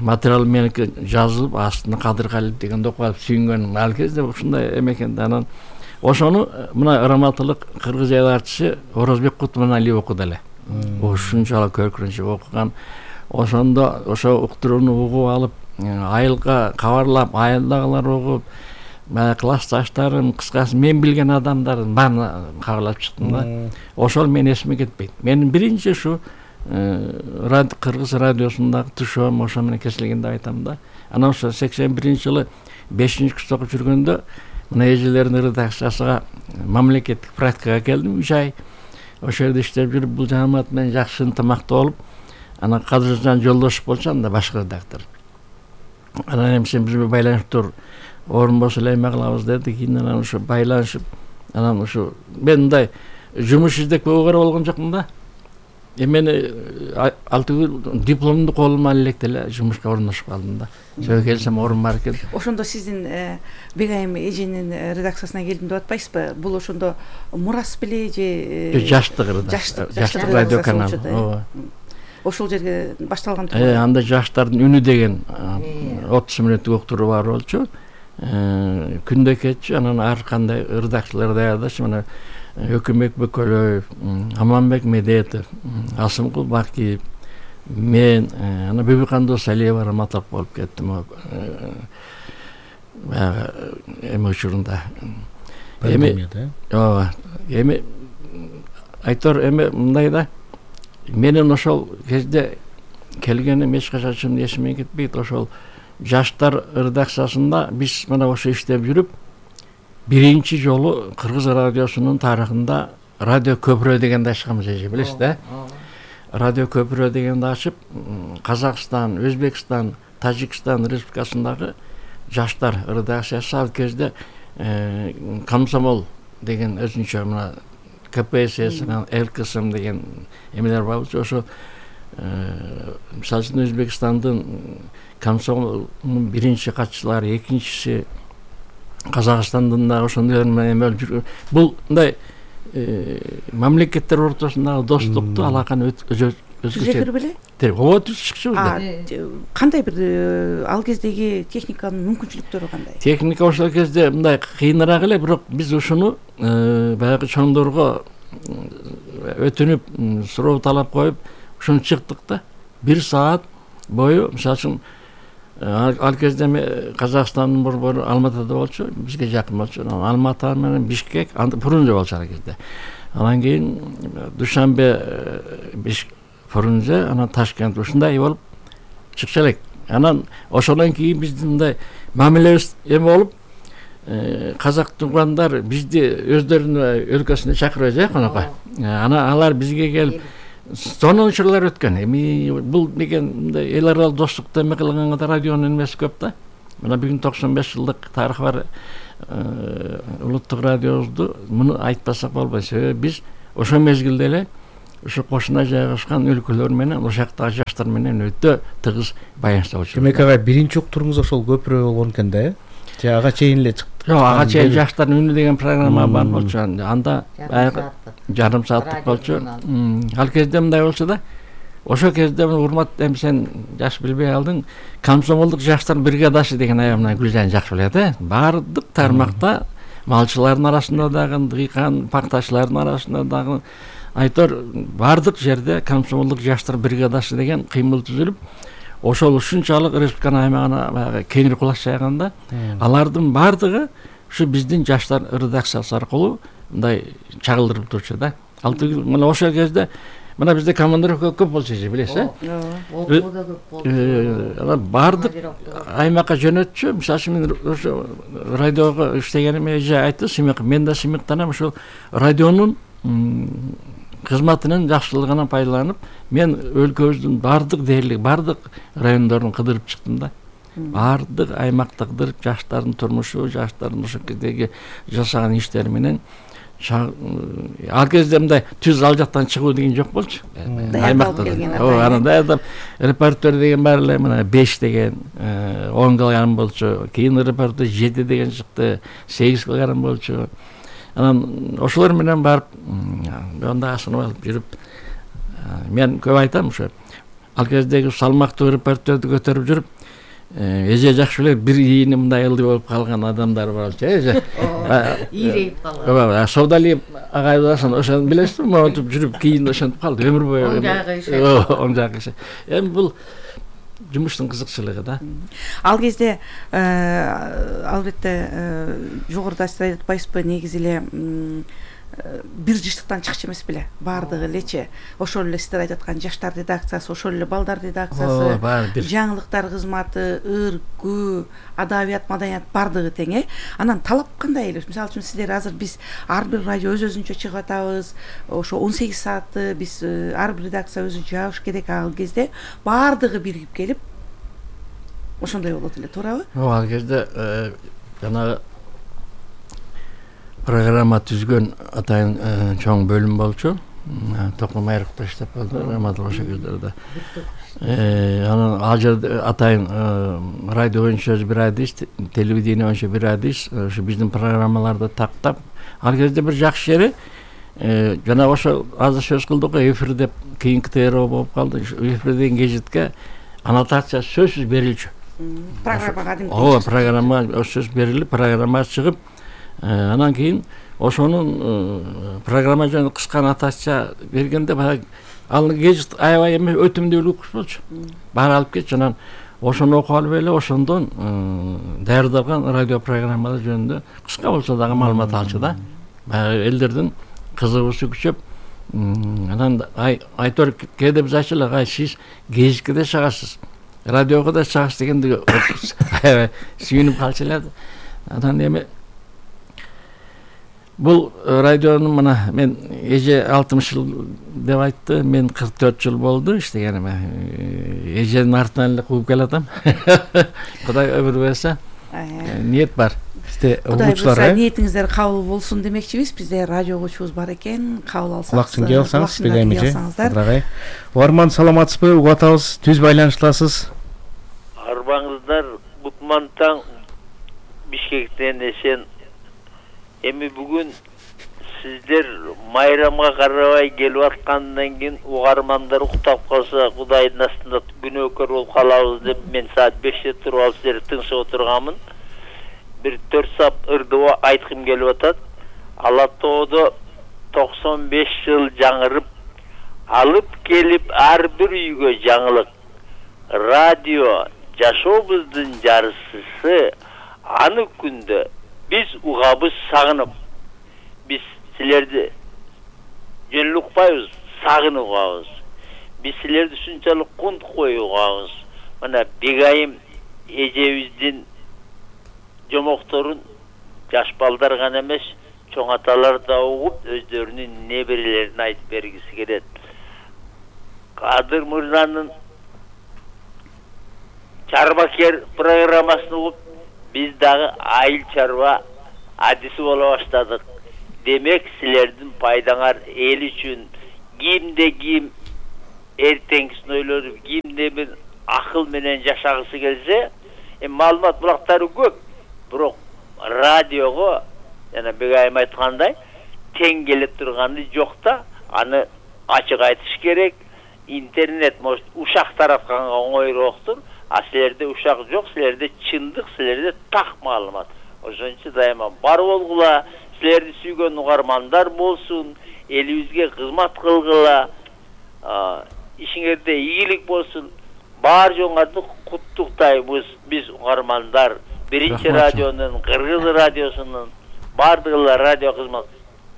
материал меники жазылып, астына Кадыр Калиев деген окуп сүйүнгөн. Ал кезде ушундай эме экен. Анан ошону мына Раматылык кыргыз айларчысы Орозбек Кутманалиев окуду эле. Ушунчалык көркүнчү окуган. Ошондо ошо уктурууну угуп алып, айылга кабарлап, айылдагылар угуп, баягы классташтарым, кыскасы мен билген адамдардын баарын кабарлап чыктым да. Ошол менин эсиме кетпейт. Менин биринчи ушу кыргыз радиосундагы тушоом ошо менен кесилген деп айтам да. Анан ошо сексен биринчи жылы бешинчи курста окуп жүргөндө мына эжелердин редакциясына мамлекеттик практикага келдим, үч ай. Ошол жерде иштеп жүрүп, бул жамаат менен жакшы ынтымакта болуп, анан Кадыржан Жолдошев болчу, анда башкы редактор. Анан эми сен бизге байланыштыр, орун болсо эле эме кылабыз деди. Кийин анан ошо байланышып, анан ошо мен мындай жумуш издеп көбөгөр болгон жокмун да. Эмени алтыгы дипломду колума ала элек деле жумушка орношуп калдым да. Жөө келсем орун бар экен. Ошондо сиздин Бегайым эженин редакциясына келдим деп атпайсызбы? Бул ошондо мурас беле же жаштык редакция, жаштык радио каналы. Ошол жерге башталган тургу. Э, анда жаштардын үнү деген отуз мүнөттүк уктуруу бар болчу. Күндө кетчү, анан ар кандай редакциялар даярдачу, мына Өкүмбек Бөкөлөев, Аманбек Медетов, Асымкул Бакиев, мен, ана Бибикан Досалиева Раматов болуп кеттим. Баягы эме учурунда. Эми, ооба, эми айтор эме мындай да. Менин ошол кезде келгеним эч качан эсиме кетпейт. Ошол жаштар редакциясында биз мына ошо иштеп жүрүп, биринчи жолу кыргыз радиосунун тарыхында радио көпүрө дегенди ачканбыз, эже билесиз да? Радио көпүрө дегенди ачып, Казакстан, Өзбекстан, Тажикстан республикасындагы жаштар редакциясы ал кезде Комсомол деген өзүнчө мына КПСС, ЛКСМ деген эмелер бар болчу. Ошо мисалы үчүн Өзбекстандын Комсомолдун биринчи катчылары, экинчиси Казакстандын да ошондой эме жүргөн. Бул мындай мамлекеттер ортосундагы достукту, алаканы өзгөчө беле? Ооба, түз чыкчу. Кандай бир ал кездеги техниканын мүмкүнчүлүктөрү кандай? Техника ошол кезде мындай кыйыныраак эле, бирок биз ушуну баягы чоңдорго өтүнүп, суроо талап коюп, ушуну чыктык да. Бир саат бою, мисалы үчүн ал кезде Казакстандын борбору Алматыда болчу, бизге жакын болчу. Алматы менен Бишкек, анда Пурунжа болчу ал кезде. Анан кийин Душанбе биш Фрунзе, анан Ташкент ушундай болуп чыкчу элек. Анан ошондон кийин биздин мындай мамилебиз эме болуп, казак туугандар бизди өздөрүнүн өлкөсүнө чакырып же конокко. Анан алар бизге келип сонун учурлар өткөн. Эми бул деген мындай эл аралык достукту эме кылганга да радионун эмеси көп да. Мына бүгүн токсон беш жылдык тарыхы бар улуттук радиобузду муну айтпасак болбойт. Себеби биз ошол мезгилде эле ушу кошуна жайгашкан өлкөлөр менен, ошол жактагы жаштар менен өтө тыгыз байланышта болчу. Демек ага биринчи уктуруңуз ошол көпүрө болгон экен да, э? Же ага чейин эле чыкты? Жок, ага чейин жаштардын үнү деген программа бар болчу. Анда жарым сааттык болчу. Ал кезде мындай болчу да. Ошол кезде урмат, эми сен жаш билбей калдың, комсомолдук жаштар бригадасы деген аягынан Гүлжан жакшы билет, э? Бардык тармакта малчылардын арасында дагы, дыйкан, пактачылардын арасында дагы айтор бардык жерде комсомолдук жаштар бригадасы деген кыймыл түзүлүп, ошол ушунчалык республиканын аймагына кеңири кулаш жайганда, алардын бардыгы ушу биздин жаштар редакциясы аркылуу мындай чагылдырып турчу да. Ал мына ошол кезде мына бизде командировка көп болчу же, билесиз, э? Окуу да көп болчу. Анан бардык аймакка жөнөтчү. Мисалы үчүн мен ошо радиого иштегениме эже айтты, сыймык, мен да сыймыктанам ошол радионун кызматынын жакшылыгынан пайдаланып, мен өлкөбүздүн бардык дээрлик, бардык райондорун кыдырып чыктым да. Бардык аймакты кыдырып, жаштардын турмушу, жаштардын ошол кездеги жасаган иштери менен ал кезде мындай түз ал жактан чыгуу деген жок болчу. Аймакта. Ооба, анан даярдап репортер деген бар эле, мына беш деген, он кылган болчу. Кийин репортер жети деген чыкты, сегиз кылган болчу. Анан ошолор менен барып, анда асынып алып жүрүп, мен көп айтам ушу. Ал кездеги салмактуу репортерди көтөрүп жүрүп, эже жакшы билет, бир ийини мындай ылдый болуп калган адамдар бар болчу, эже. Ийрейип калган. Ооба, Содалиев агайбыздан ошону билесизби? Монтип жүрүп, кийин ошентип калды, өмүр бою. Оң жагы иши. Оң жагы иши. Эми бул жумуштун кызыкчылыгы да. Ал кезде албетте жогоруда сиз айтып атпайсызбы, негизи эле бир жыштыктан чыкчу эмес беле, баардыгы элечи. Ошол эле сиздер айтып аткан жаштар редакциясы, ошол эле балдар редакциясы, жаңылыктар кызматы, ыркүү, адабият, маданият баардыгы тең, э? Анан талап кандай эле? Мисалы үчүн сиздер азыр биз ар бир радио өз-өзүнчө чыгып атабыз, ошо он сегиз саатты биз ар бир редакция өзү жабыш керек. Ал кезде баардыгы биригип келип ошондой болот эле, туурабы? Ооба, ал кезде жанагы программа түзгөн атайын чоң бөлүм болчу. Токмом Айрыкта иштеп калды, Рамадыл ошол кездерде. Анан ал жерде атайын радио боюнча бир адис, телевидение боюнча бир адис, ошо биздин программаларды тактап, ал кезде бир жакшы жери жана ошо азыр сөз кылдык го, эфир деп кийинки ТРО болуп калды. Эфир деген гезитке аннотация сөзсүз берилчү. Программага кадимки. Ооба, программа сөз берилип, программа чыгып, анан кийин ошонун программа жөнүндө кыска аннотация бергенде баягы ал гезит аябай эме өтүмдүүлүк болчу. Баары алып кетчү. Анан ошону окуп алып эле ошондон даярдалган радио программалар жөнүндө кыска болсо дагы маалымат алчу да. Баягы элдердин кызыгуусу күчөп, анан айтор кээде биз айтчулук, ай сиз гезитке да чыгасыз, радиого да чыгасыз дегенде аябай сүйүнүп калчу эле. Анан эми бул радионун мына мен эже алтымыш жыл деп айтты, мен кырк төрт жыл болду иштегениме. Эженин артынан эле кууп келатам. Кудай өмүр берсе, ниет бар. Бизде Кудай угуучулар, буйруса э? ниетиңиздер кабыл болсун демекчибиз. Бизде радио угуучубуз бар экен, кабыл алсаңыз. Кулакчын кие алсаңыз, билейм эже. алсаңыздар. Кадырагай. Угарман, саламатсызбы? Угуп атабыз. Түз байланыштасыз. Арбаңыздар Бутмантан Бишкектен эсен. Эми бүгүн сиздер майрамга карабай келип аткандан кийин угармандар уктап калса Кудайдын астында күнөөкөр болуп калабыз деп мен саат беште туруп алып сиздерди тыңшап отурганмын. Бир төрт сап ырдоо айткым келип атат. Ала тоодо токсон беш жыл жаңырып, алып келип ар бир үйгө жаңылык. Радио жашообуздун жарысысы, аны күндө биз угабыз сагынып. Биз силерди жөн эле укпайбыз, сагынып угабыз. Биз силерди ушунчалык кунтук коюп угабыз. Мына Бегайым эжебиздин жомокторун жаш балдар гана эмес, чоң аталар да угуп, өздөрүнүн неберелерин айтып бергиси келет. Кадыр мырзанын Чарбакер программасын угуп, биз дагы айыл чарба адиси боло баштадык. Демек, силердин пайдаңар эл үчүн кимде ким эртеңкисин ойлонуп, кимде бир акыл менен жашагысы келсе, эми маалымат булактары көп, бирок радиого жана Бегайым айткандай тең келе турганы жок да, аны ачык айтыш керек. Интернет может ушак таратканга оңойрооктур, а силерде ушак жок, силерде чындык, силерде так маалымат. Ошон үчүн дайыма бар болгула, силерди сүйгөн угармандар болсун, элибизге кызмат кылгыла, ишиңерде ийгилик болсун. Бар жоңарды куттуктайбыз биз угармандар, биринчи радионун, Кыргыз радиосунун, бардыгыла радио кызмат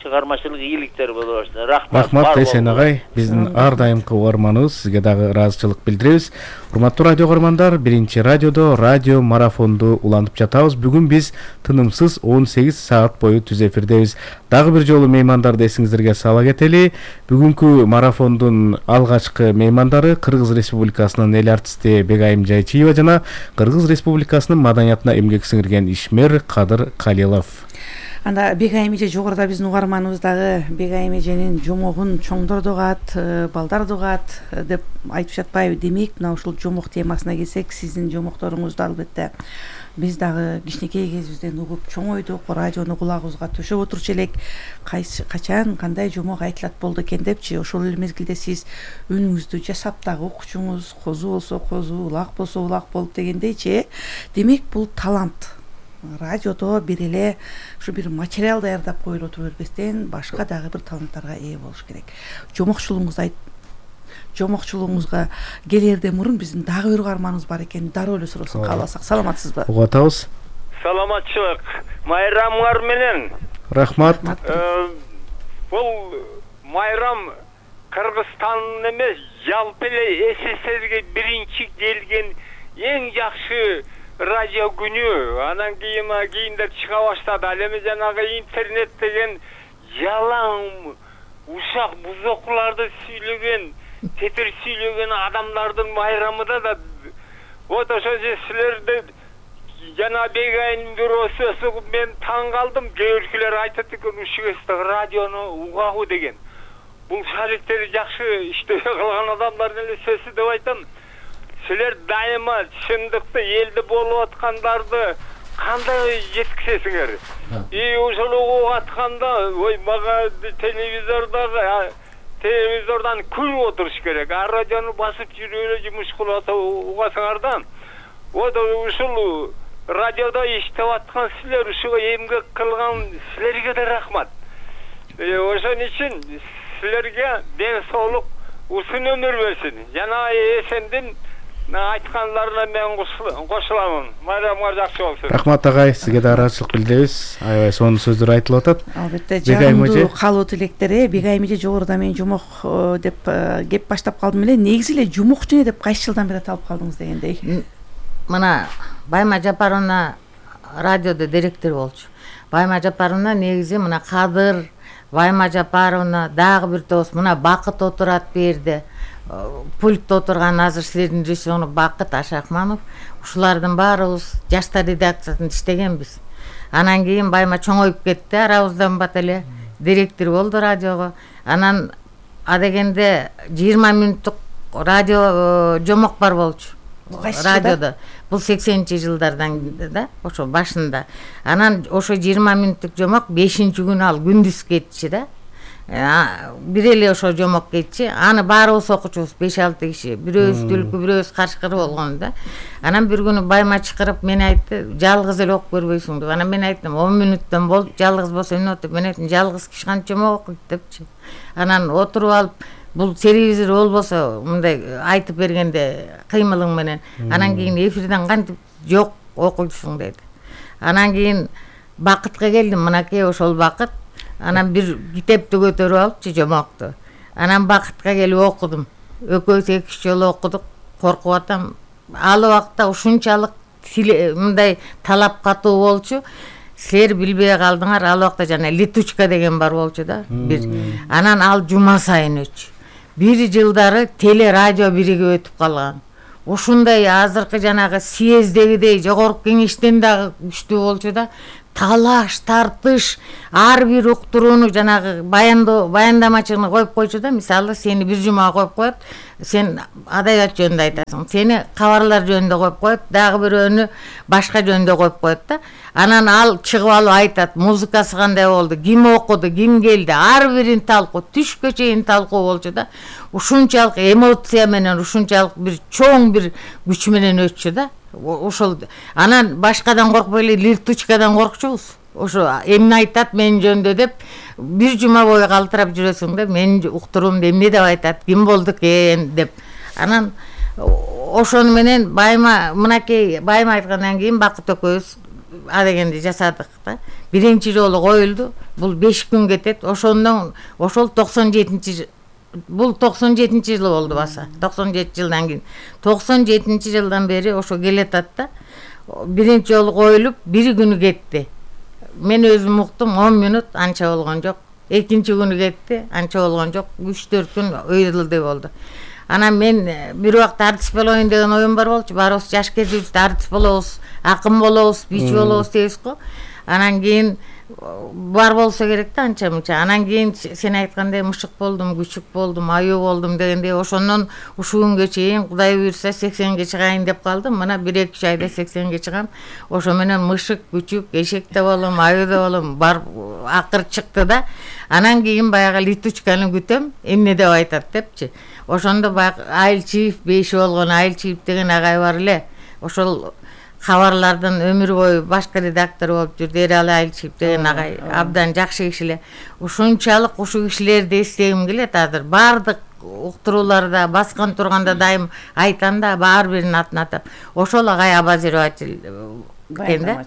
чыгармачылык ийгиликтер боло баштады. Рахмат. Рахмат Эсен агай, биздин ар дайымкы угарманыбыз, сизге дагы ыраазычылык билдиребиз. Урматтуу радио угармандар, биринчи радиодо радио марафонду улантып жатабыз. Бүгүн биз тынымсыз он сегиз саат бою түз эфирдебиз. Дагы бир жолу меймандарды эсиңиздерге сала кетели. Бүгүнкү марафондун алгачкы меймандары Кыргыз Республикасынын эл артисти Бегайым Жайчиева жана Кыргыз Республикасынын маданиятына эмгек сиңирген ишмер Кадыр Калилов. Анда Бегайым эже жогоруда биздин угарманыбыз дагы Бегайым эженин жомогун чоңдор догат, балдар догат деп айтып жатпайбы? Демек, мына ушул жомок темасына келсек, сиздин жомокторуңузду албетте биз дагы кичинекей кезибизден угуп чоңойдук, радиону кулагыбызга төшөп отурчу элек. Качан кандай жомок айтылат болду экен депчи, ошол эле мезгилде сиз үнүңүздү жасап дагы окучуңуз, козу болсо козу, улак болсо улак болуп дегендейчи. Демек, бул талант. Радиодо бир эле ушу бир материал даярдап коюлуп отура бербестен, башка дагы бир таланттарга ээ болуш керек. Жомокчулугуңузду айт, жомокчулугуңузга келерден мурун биздин дагы бир угарманыбыз бар экен, дароо эле суроосун кааласак. Саламатсызбы? Угуп атабыз. Саламатчылык. Майрамыңар менен. Рахмат. Бул майрам Кыргызстандын эмес, жалпы эле СССРге биринчи келген эң жакшы радио күнү. Анан кийин кийиндер чыга баштады. Ал эми жанагы интернет деген жалаң ушак бузокларды сүйлөгөн, тетир сүйлөгөн адамдардын майрамында да вот ошо силерди жана Бегайым бирөөсү мен таң калдым. Кээ биркилер айтат экен, ушугесте радиону угабы деген. Бул шариктери жакшы иштебей калган адамдар эле сөзсүз деп айтам. Силер дайыма чындыкты, элди болуп аткандарды кандай жеткизесиңер? И ошол угуп атканда, ой, мага телевизордо телевизордон күлүп отуруш керек. А радиону басып жүрүп эле жумуш кылып угасыңар да. Вот ушул радиодо иштеп аткан силер, ушуга эмгек кылган силерге да рахмат. Ошон үчүн силерге ден соолук, узун өмүр берсин. Жана Эсендин айткандарына мен кошуламын. Майрамыңар жакшы болсун. Рахмат агай, сизге да ыраазычылык билдиребиз. Аябай сонун сөздөр айтылып атат. Албетте, жагымдуу калуу тилектер. Бегайым эже жогоруда мен жомок деп кеп баштап калдым эле. Негизи эле жомокчу не деп кайсы жылдан бери аталып калдыңыз дегендей. Мына Байма Жапаровна радиодо директор болчу. Байма Жапаровна негизи мына Кадыр, Байма Жапаровна, дагы бир тоос мына Бакыт отурат бу жерде. Пультта отурган азыр силердин режиссеру Бакыт Ашакманов. Ушулардын баарыбыз жаштар редакциясында иштегенбиз. Анан кийин Байма чоңоюп кетти, арабыздан бат эле директор болду радиого. Анан адегенде жыйырма мүнөттүк радио жомок бар болчу. Радиодо. Бул сексенинчи жылдардан да, ошо башында. Анан ошо жыйырма мүнөттүк жомок бешинчи күнү ал күндүз кетчи да. Бир эле ошо жомок кетчи. Аны баарыбыз окучубуз, беш алты киши. Бирөөбүз түлкү, бирөөбүз кашкыр болгон да. Анан бир күнү Байма чакырып мен айтты, жалгыз эле окуп көрбөйсүң деп. Анан мен айттым, он мүнөттөн болду, жалгыз болсо эмне болот? Мен айттым, жалгыз киши канча жомок окуйт депчи. Анан отуруп алып, бул телевизор болбосо мындай айтып бергенде кыймылың менен. Анан кийин эфирден кантип жок окуйсуң деди. Анан кийин Бакытка келдим, мынакей ошол Бакыт Анан бир китепти көтөрүп алыпчы, жомокту. Анан Бакытка келип окудум. Экөөбүз эки үч жолу окудук. Коркуп атам. Ал убакта ушунчалык мындай талап катуу болчу. Силер билбей калдыңар, ал убакта жана летучка деген бар болчу да. Бир. Анан ал жума сайын өчү. Бир жылдары теле радио биригип өтүп калган. Ушундай азыркы жанагы съезддегидей жогорку кеңештен дагы күчтүү болчу да. Талаш, тартыш, ар бир уктурууну жанагы баяндоо, баяндамачыны коюп койчу да. Мисалы, сени бир жума коюп коет, сен адабият жөнүндө айтасың. Сени кабарлар жөнүндө коюп коет, дагы бирөөнү башка жөнүндө коюп коет да. Анан ал чыгып алып айтат, музыкасы кандай болду, ким окуду, ким келди, ар бирин талкуу, түшкө чейин талкуу болчу да. Ушунчалык эмоция менен, ушунчалык бир чоң бир күч менен өтчү да. Ошол анан башкадан коркпой эле лиртучкадан коркчубуз. Ошо эмне айтат мен жөнүндө деп бир жума бою калтырап жүрөсүң да. Менин уктуруумду эмне деп айтат, ким болду экен деп. Анан ошону менен Байма мынакей Байма айткандан кийин Бакыт экөөбүз адегенди жасадык да. Биринчи жолу коюлду. Бул беш күн кетет. Ошондон ошол токсон жетинчи бул токсон жетинчи жылы болду баса. токсон жети жылдан кийин. токсон жетинчи жылдан бери ошо келатат да. Биринчи жолу коюлуп, бир күнү кетти. Мен өзүм уктум, он мүнөт анча болгон жок. Экинчи күнү кетти, анча болгон жок. үч төрт күн ыйрылды болду. Анан мен бир убакыт артист болоюн деген оюм бар болчу. Барыбыз жаш кезибизде артист болобуз, акын болобуз, бийчи болобуз дейбиз го. Анан кийин бар болсо керек да анча мынча. Анан кийин сен айткандай мышык болдум, күчүк болдум, аюу болдум дегендей ошондон ушул күнгө чейин Кудай буйрса сексенге чыгайын деп калдым. Мына бир эки үч айда сексенге чыгам. Ошо менен мышык, күчүк, эшек да болом, аюу да болом, бар акыр чыкты да. Анан кийин баягы летучканы күтөм, эмне деп айтат депчи. Ошондо баягы Айылчиев, беши болгон Айылчиев деген агай бар эле. Ошол кабарлардын өмүр бою башкы редактор болуп жүрдү. Эрали Айылчиев деген агай абдан жакшы киши эле. Ушунчалык ушул кишилерди эстегим келет азыр. Бардык уктурууларда баскан турганда дайым айтам да, ар биринин атын атап. Ошол агай обозреватель экен да.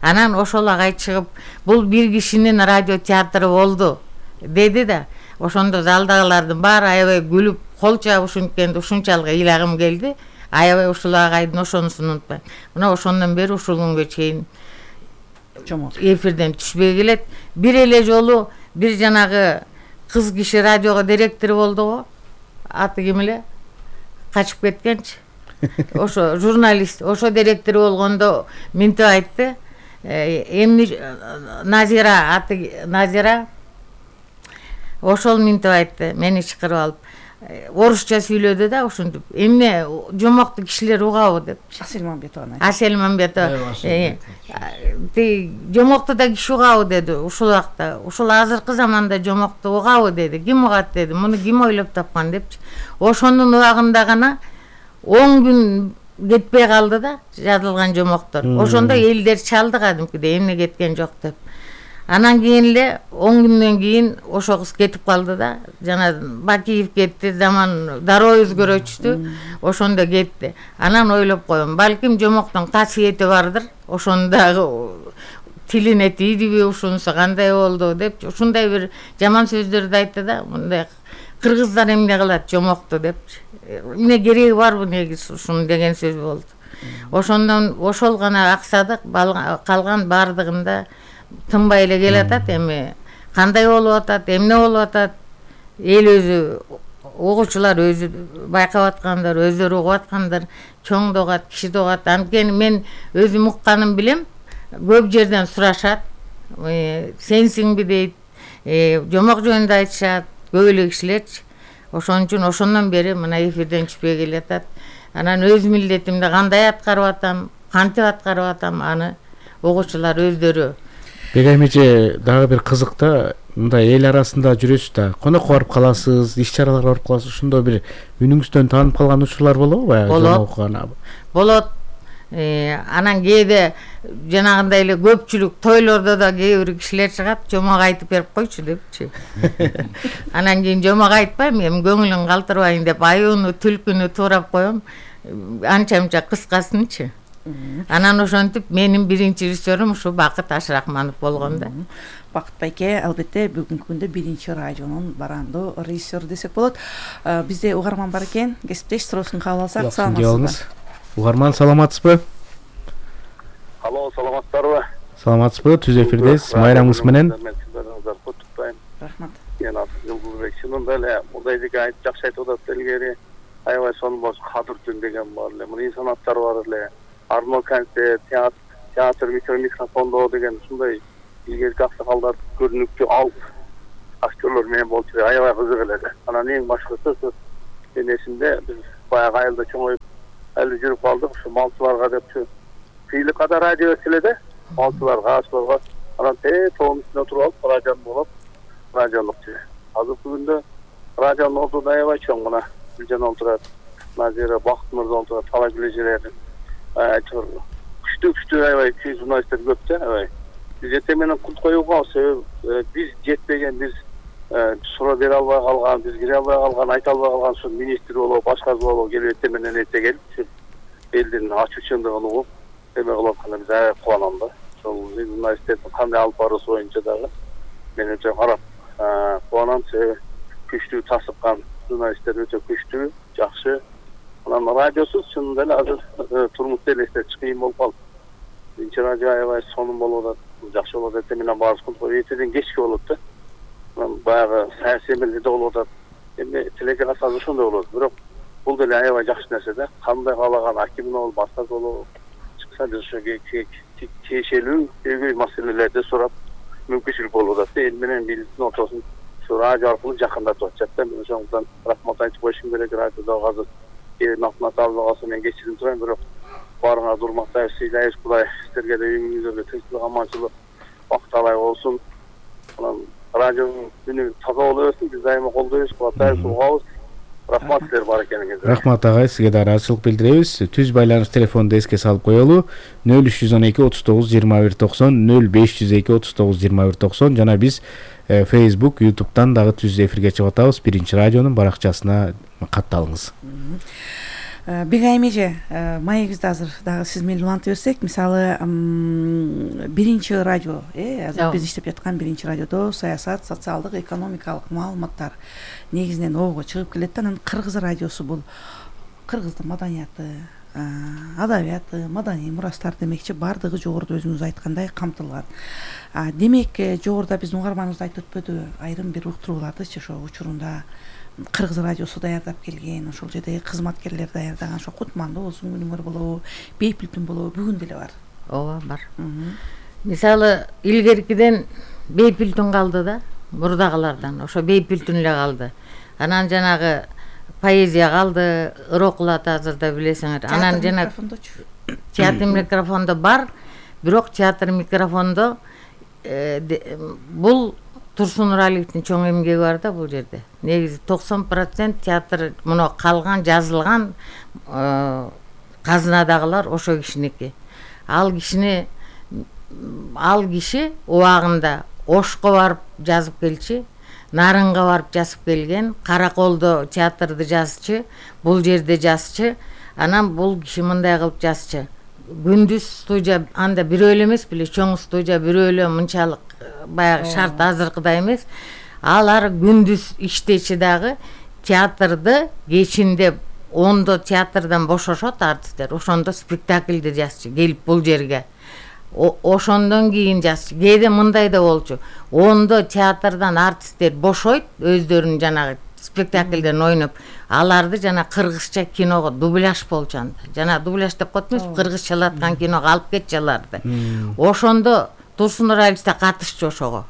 Анан ошол агай чыгып, бул бир кишинин радио театры болду деди да. Ошондо залдагылардын баары аябай күлүп, кол чабышынткенди ушунчалык ыйлагым келди. Аябай ушул агайдын ошонусун унутпайм. Мына ошондон бери ушул күнгө чейин эфирден түшпөй келет. Бир эле жолу бир жанагы кыз киши радиого директор болду го. Аты ким эле? Качып кеткенчи. Ошо журналист, ошо директор болгондо мынтип айтты. Эмне Назира, аты Назира. Ошол мынтип айтты, мени чакырып алып. Орусча сүйлөдү да, ушинтип. Эмне жомокту кишилер угабы деп. Асель Мамбетова. Асель Мамбетова. Ти жомокту да киши угабы деди ушул убакта. Ушул азыркы заманда жомокту угабы деди. Ким угат деди. Муну ким ойлоп тапкан депчи. Ошонун убагында гана он күн кетпей калды да жазылган жомоктор. Ошондо элдер чалды кадимкидей, эмне кеткен жок деп. Анан кийин эле он күндөн кийин ошо кыз кетип калды да. Жана Бакиев кетти, заман дароо өзгөрүчтү. Ошондо кетти. Анан ойлоп коем, балким жомоктун касиети бардыр. Ошондогу тилине тийдиби, ушунусу кандай болду деп, ушундай бир жаман сөздөрдү айтты да. Мындай кыргыздар эмне кылат жомокту депчи. Эмне кереги барбы негизи ушуну деген сөз болду. Ошондон ошол гана аксадык, калган бардыгында тынбай эле келатат. Эми кандай болуп атат, эмне болуп атат, эл өзү, угуучулар өзү байкап аткандар, өздөрү угуп аткандар, чоң да угат, кичи да угат. Анткени мен өзүм укканым билем, көп жерден сурашат, сенсиңби дейт, жомок жөнүндө айтышат, көп эле кишилерчи. Ошон үчүн ошондон бери мына эфирден түшпөй келатат. Анан өз милдетимди кандай аткарып атам, кантип аткарып атам, аны угуучулар өздөрү. Бегаймеже дагы бир кызык да, мындай эл арасында жүрөсүз да, конокко барып каласыз, иш чараларга барып каласыз, ошондо бир үнүңүздөн таанып калган учурлар болобу баягы жомоккана? Болот. Анан кээде жанагындай эле көпчүлүк тойлордо да кээ бир кишилер чыгат, жомок айтып берип койчу депчи. Анан кийин жомок айтпайм, эми көңүлүн калтырбайын деп аюуну, түлкүнү туурап коем. Анча-мынча кыскасынчы. Анан ошентип менин биринчи режиссерім ушу Бакыт Ашрахманов болгон да. Бакыт байке албетте бүгүнкү күндө биринчи радионун барандуу режиссеру десек болот. Бизде угарман бар экен, кесиптеш суроосун кабыл алсак. Саламатсызбы? Угарман саламатсызбы? Алло, саламатсыздарбы? Саламатсызбы? Түз эфирдесиз. Майрамыңыз менен. Рахмат. Мен аты Жылдызбек. Чынында эле мындай деге айтып жакшы айтып атат илгери. Аябай сонун болуп кадыр түн деген бар эле. Мына инсанаттар бар эле. Арно концерт, театр, театр микрофондоо деген ушундай илгерки аксакалдар көрүнүктүү ал актерлор менен болчу. Аябай кызык эле. Анан эң башкысы мен эсимде биз баягы айылда чоңоюп эле жүрүп калдык. Ушу малчыларга депчи Кыйлыкада радио эчиледе. Малчыларга, ачыларга анан те тоонун үстүнө туруп алып радио болуп радиолукчу. Азыркы күндө радионун ордуна аябай чоң мына Гүлжан олтурат, Назира Бакыт мырза олтурат, талай билежелер. Айтор күчтүү күчтүү аябай журналисттер көп да, аябай. Биз эте менен кут коюуга себеп биз жетпеген, биз суроо бере албай калган, биз кире албай калган, айта албай калган ушул министр болобу, башка болобу келип эте менен эте келип элдин ачуу чындыгын угуп эме кылып атканда биз аябай кубанам да. Ошол журналисттердин кандай алып баруусу боюнча дагы мен өтө карап кубанам, себеби күчтүү тасыккан журналисттер өтө күчтүү, жакшы. Анан радиосуз чынында эле азыр турмушта элестетиш кыйын болуп калды. Биринчи радио аябай сонун болуп атат, жакшы болуп атат. Эте менен баарыбыз кылып эртеден кечке болот да. Анан баягы саясий эмелерде болуп атат. Эми телеарнасы азыр ошондой болот. Бирок бул деле аябай жакшы нерсе да. Кандай каалаган аким болобу, башка болобу чыкса биз ошо тиешелүү көйгөй маселелерди сурап мүмкүнчүлүк болуп атат. Эл менен бийликтин ортосун ушу радио аркылуу жакындатып атышат да. Мен ошондон рахмат айтып коюшум керек. Радиодо азыр элдин алтына табылып калса мен кечирим сурайм, бирок баарыңа урматтайбыз, сыйлайбыз. Кудай сиздерге да үйүңүздөргө тынччылык, аманчылык, бакыт алай болсун. Анан радионун күнү таза боло берсин. Биз дайыма колдойбуз, кубаттайбыз, угабыз. Рахмат силер бар экениңизге. Рахмат агай, сизге да ыраазычылык билдиребиз. Түз байланыш телефонду эске салып коелу. нөл үч жүз он эки отуз тогуз жыйырма бир токсон, нөл беш жүз эки отуз тогуз жыйырма бир токсон жана биз Facebook, YouTube'дан дагы түз эфирге чыгып атабыз. Биринчи радионун баракчасына катталыңыз. Бегай эже, маегибизди азыр дагы сиз менен улантып берсек, мисалы биринчи радио, э, азыр биз иштеп жаткан биринчи радиодо саясат, социалдык, экономикалык маалыматтар негизинен обго чыгып келет да. Анан Кыргыз радиосу бул кыргыздын маданияты, адабияты, маданий мурастар демекчи баардыгы жогоруда өзүңүз айткандай камтылган. Демек, жогоруда биздин угарманыбыз айтып өтпөдү, айрым бир уктуруулардычы ошо учурунда Кыргыз радиосу даярдап келген, ошол жердеги кызматкерлер даярдаган, ошо Кутмандуу болсун, Күнүңөр болобу, Бейпилтүн болобу, бүгүн деле бар. Ооба, бар. Мисалы, илгеркиден Бейпилтүн калды да, мурдагылардан, ошо Бейпилтүн эле калды. Анан жанагы поэзия калды, Ырокулат азырда билесиңер. Анан жана театр микрофондо бар, бирок театр микрофондо бул Турсун Нуралиевдин чоң эмгеги бар да бул жерде. Негизи токсон процент театр муну калган, жазылган казынадагылар ошо кишиники. Ал кишини ал киши убагында Ошко барып жазып келчи, Нарынга барып жазып келген, Караколдо театрды жазчы, бул жерде жазчы. Анан бул киши мындай кылып жазчы. Күндүз студия анда бирөө эле эмес беле, чоң студия бирөө эле мынчалык баягы шарт азыркыдай эмес. Алар күндүз иштечи дагы театрды кечинде ондо театрдан бошошот артисттер. Ошондо спектакльди жазчы, келип бул жерге. Ошондон кийин жазчы. Кээде мындай да болчу. Ондо театрдан артисттер бошойт, өздөрүнүн жанагы спектакльден ойноп, аларды жана кыргызча киного дубляж болчу анда. Жана дубляж деп коет эмес, кыргызчалаткан киного алып кетчи аларды. Ошондо Турсун Нуралиев да катышчу ошого.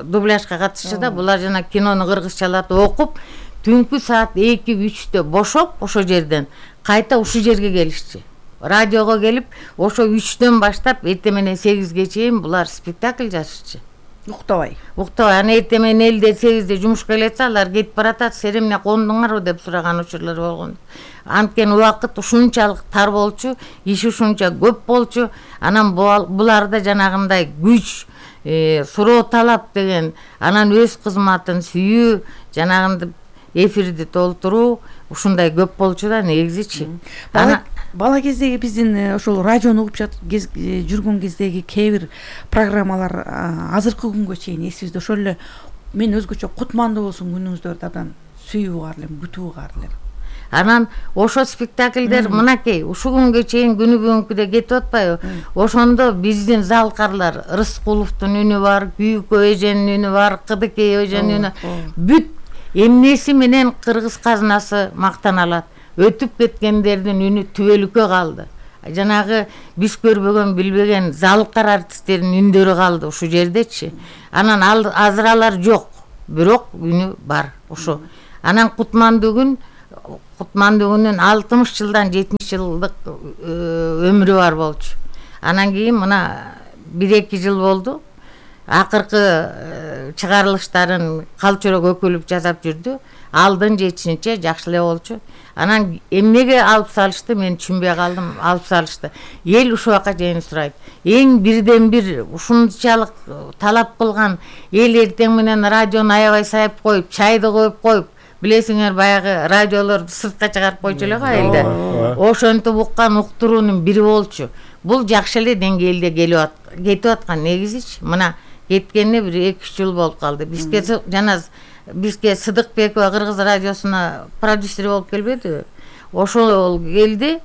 Дубляжга катышчу да, булар жана кинону кыргызчалатып окуп, түнкү саат эки үчтө бошоп ошо жерден кайта ушул жерге келишчи. Радиого келип, ошо үчтөн баштап эртең менен сегизге чейин булар спектакль жазышчы. Уктабай. Уктабай. Аны эртең менен элде сегизде жумушка келетсе, алар кетип баратат, сен эмне кондуңарбы деп сураган учурлар болгон. Анткени убакыт ушунчалык тар болчу, иш ушунча көп болчу. Анан буларда жанагындай күч, суроо талап деген, анан өз кызматын сүйүү, жанагындай эфирди толтуруу ушундай көп болчу да негизичи. бала кездеги биздин ошол радиону угуп жүргөн кездеги кээ бир программалар азыркы күнгө чейин эсибизде. Ошол эле мен өзгөчө кутмандуу болсун күнүңүздөрдү абдан сүйүп угар элем, күтүп угар элем. Анан ошо спектакльдер мынакей ушул күнгө чейин күнү бүгүнкүдө кетип атпайбы? Ошондо биздин залкарлар, Рыскуловдун үнү бар, Күйүкө эженин үнү бар, Кыдыкей эженин үнү, бүт эмнеси менен кыргыз казынасы мактана алат. Өтүп кеткендердин үнү түбөлүккө калды. Жанагы биз көрбөгөн, билбеген залкар артисттердин үндөрү калды ушул жердечи. Анан азыралар жок, бирок үнү бар ошо. Анан Кутмандуу күн Кутмандуу күнүн алтымыш жылдан жетимиш жылдык өмүрү бар болчу. Анан кийин мына бир эки жыл болду. Акыркы чыгарылыштарын калчурок өкүлүп жасап жүрдү. Алдын жетишинче жакшы эле болчу. Анан эмнеге алып салышты, мен түшүнбөй калдым. Алып салышты. Эл ушул жака чейин сурайт. Эң бирден бир ушунчалык талап кылган эл эртең менен радиону аябай сайып коюп, чайды коюп коюп, билесиңер баягы радиолорду сыртка чыгарып койчу эле го элде. Ошентип уккан уктуруунун бири болчу. Бул жакшы эле деңгээлде келип кетип аткан негизичи. Мына кеткенине бир эки үч жыл болуп калды. Бизге жана бизге Сыдыкбекова Кыргыз радиосуна продюсер болуп келбедиби? Ошол келди.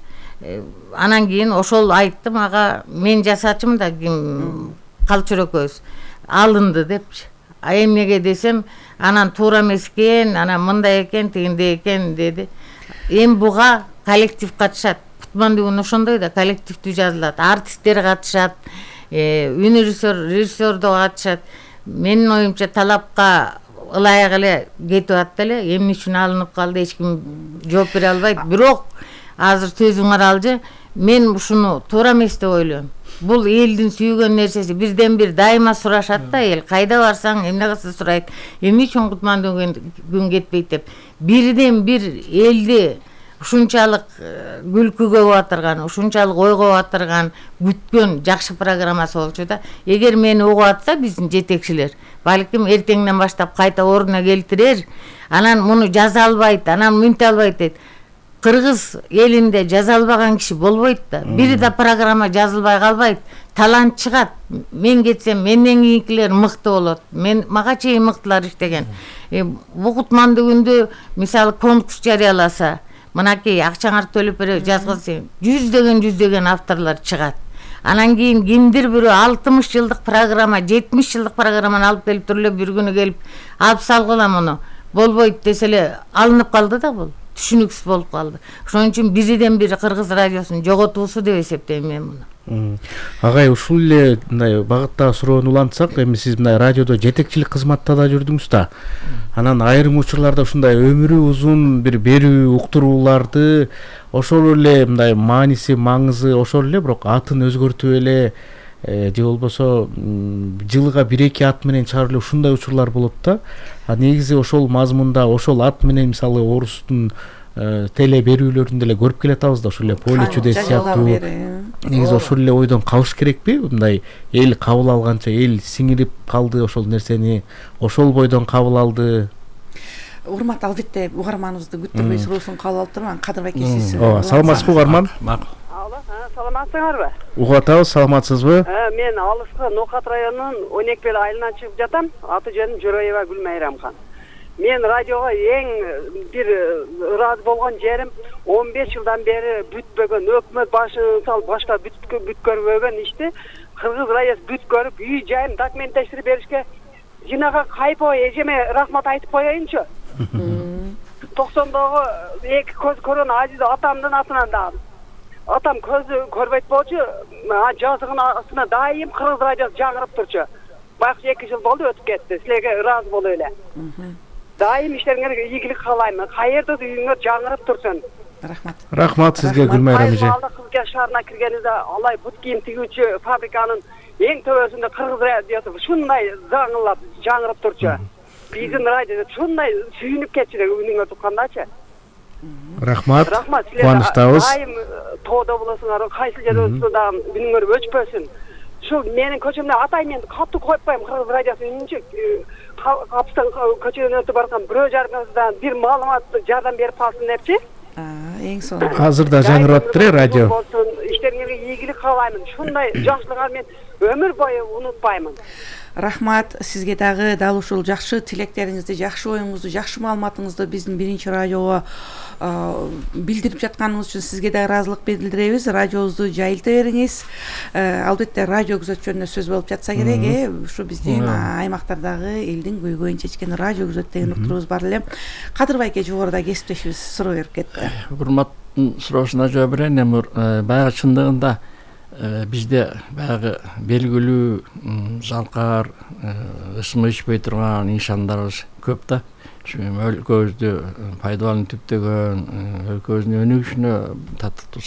Анан кийин ошол айтты мага, мен жасачымын да, ким Калчурөкөбүз алынды депчи. А эмнеге десем, анан туура эмес экен, анан мындай экен, тигиндей экен деди. Эми буга коллектив катышат. Кутмандуу күн ошондой да, коллективдүү жазылат. Артисттер катышат, үн режиссер, режиссер да катышат. Менин оюмча талапка ылайык эле кетип атты эле. Эмне үчүн алынып калды, эч ким жооп бере албайт. Бирок азыр сөзүңөр алжы, мен ушуну туура эмес деп ойлойм. Бул элдин сүйгөн нерсеси. Бирден бир дайыма сурашат да эл. Кайда барсаң эмне кылса сурайт. Эмне үчүн Кутмандуу күн кетпейт деп. Бирден бир элди ушунчалык күлкүгө батырган, ушунчалык ойго батырган, күткөн жакшы программасы болчу да. Эгер мени угуп атса биздин жетекчилер, балким эртеңден баштап кайта ордуна келтирер, анан муну жаза албайт, анан мынтип албайт дейт. Кыргыз элинде жаза албаган киши болбойт да. Бир да программа жазылбай калбайт. Талант чыгат. Мен кетсем, менден кийинкилер мыкты болот. Мен мага чейин мыктылар иштеген. Бу Кутмандуу күндө мисалы конкурс жарыяласа, мынакей акчаңарды төлөп берип жазгылса, жүздөгөн жүздөгөн авторлор чыгат. Анан кийин кимдир бирөө алтымыш жылдык программа, жетимиш жылдык программаны алып келип туруп эле бир күнү келип алып салгыла муну. Болбойт десе эле алынып калды да бул. Түшүнүксүз болуп калды. Ошон үчүн бирден бир Кыргыз радиосун жоготуусу деп эсептейм мен муну. Агай, ушул эле мындай багытта суроону улантсак, эми сиз мындай радиодо жетекчилик кызматта да жүрдүңүз да. Анан айрым учурларда ушундай өмүрү узун бир берүү уктурууларды ошол эле мындай мааниси, маңызы ошол эле, бирок атын өзгөртүп эле же болбосо жылга бир эки ат менен чыгарып эле ушундай учурлар болот да. А негизи ошол мазмунда, ошол ат менен мисалы орустун теле берүүлөрүндө эле көрүп келатабыз да, ошол эле поле чудес сыяктуу. Негизи ошол эле ойдон калыш керекпи? Мындай эл кабыл алганча, эл сиңирип калды ошол нерсени, ошол бойдон кабыл алды. Урмат, албетте угарманыбызды күттүрбөй суроосун кабыл алып турман. Кадырбай сиз. Ооба, саламатсызбы угарман? Макул. Саламатсыңарбы? Угуп атабыз, саламатсызбы? Мен алыскы Нокат районунун он эки бел айылынан чыгып жатам. Аты жөнүм Жороева Гүлмайрамхан. Мен радиого эң бир ыраазы болгон жерим он беш жылдан бери бүтпөгөн, өкмөт башын сал башка бүткөрбөгөн ишти Кыргыз радиосу бүткөрүп, үй жайым документтештирип беришке жинага Кайпо эжеме рахмат айтып коеюнчу. токсондогу эки көз көргөн Азиз атамдын атынан дагы. Атам көзү көрбөйт болчу, жазыгын астына дайым Кыргыз радиосу жаңырып турчу. Байкуш эки жыл болду өтүп кетти. Силерге ыраазы болуп эле. Дайым иштериңерге ийгилик каалайм. Каерде үйүңөр жаңырып турсун. Рахмат. Рахмат сизге Гүлмайрам эже. Кызга шаарына киргенибизде алай бут кийим тигүүчү фабриканын эң төбөсүндө Кыргыз радиосу ушундай жаңылап, жаңырып турчу. Биздин радио ушундай сүйүнүп кетчү деп үнүңөр туккандачы. Рахмат. Рахмат. Кубанычтабыз. Дайым тоодо болосуңар, кайсы жерде да үнүңөр өчпөсүн. Ушул менин көчөмдө атай мен катты коюп коем Кыргыз радиосу үнүнчү. Капыстан көчөдөн өтүп бараткан бирөө жарымдан бир маалымат жардам берип калсын депчи. эң сонун азыр да жаңырап атыптыр э радио. Иштериңерге ийгилик каалаймын. Ушундай жакшылыгы мен өмүр бою унутпаймын. Рахмат сизге дагы дал ушул жакшы тилектериңизди, жакшы оюңузду, жакшы маалыматыңызды биздин биринчи радиого билдирип жатканыңыз үчүн сизге да ыраазылык билдиребиз. Радиобузду жайылта бериңиз. Албетте радио күзөт жөнүндө сөз болуп жатса керек, э ушу биздин аймактардагы элдин көйгөйүн чечкен радио күзөт деген уктурубуз бар эле. Кадыр байке жогоруда кесиптешибиз суроо берип кетти. Урматтын суроосуна жооп берейин. Эми баягы чындыгында бизде баягы белгилүү залкар, ысымы ичпей турган нишандарыбыз көп да. Өлкөбүздү пайдаланып түптөгөн, өлкөбүздүн өнүгүшүнө татыктуу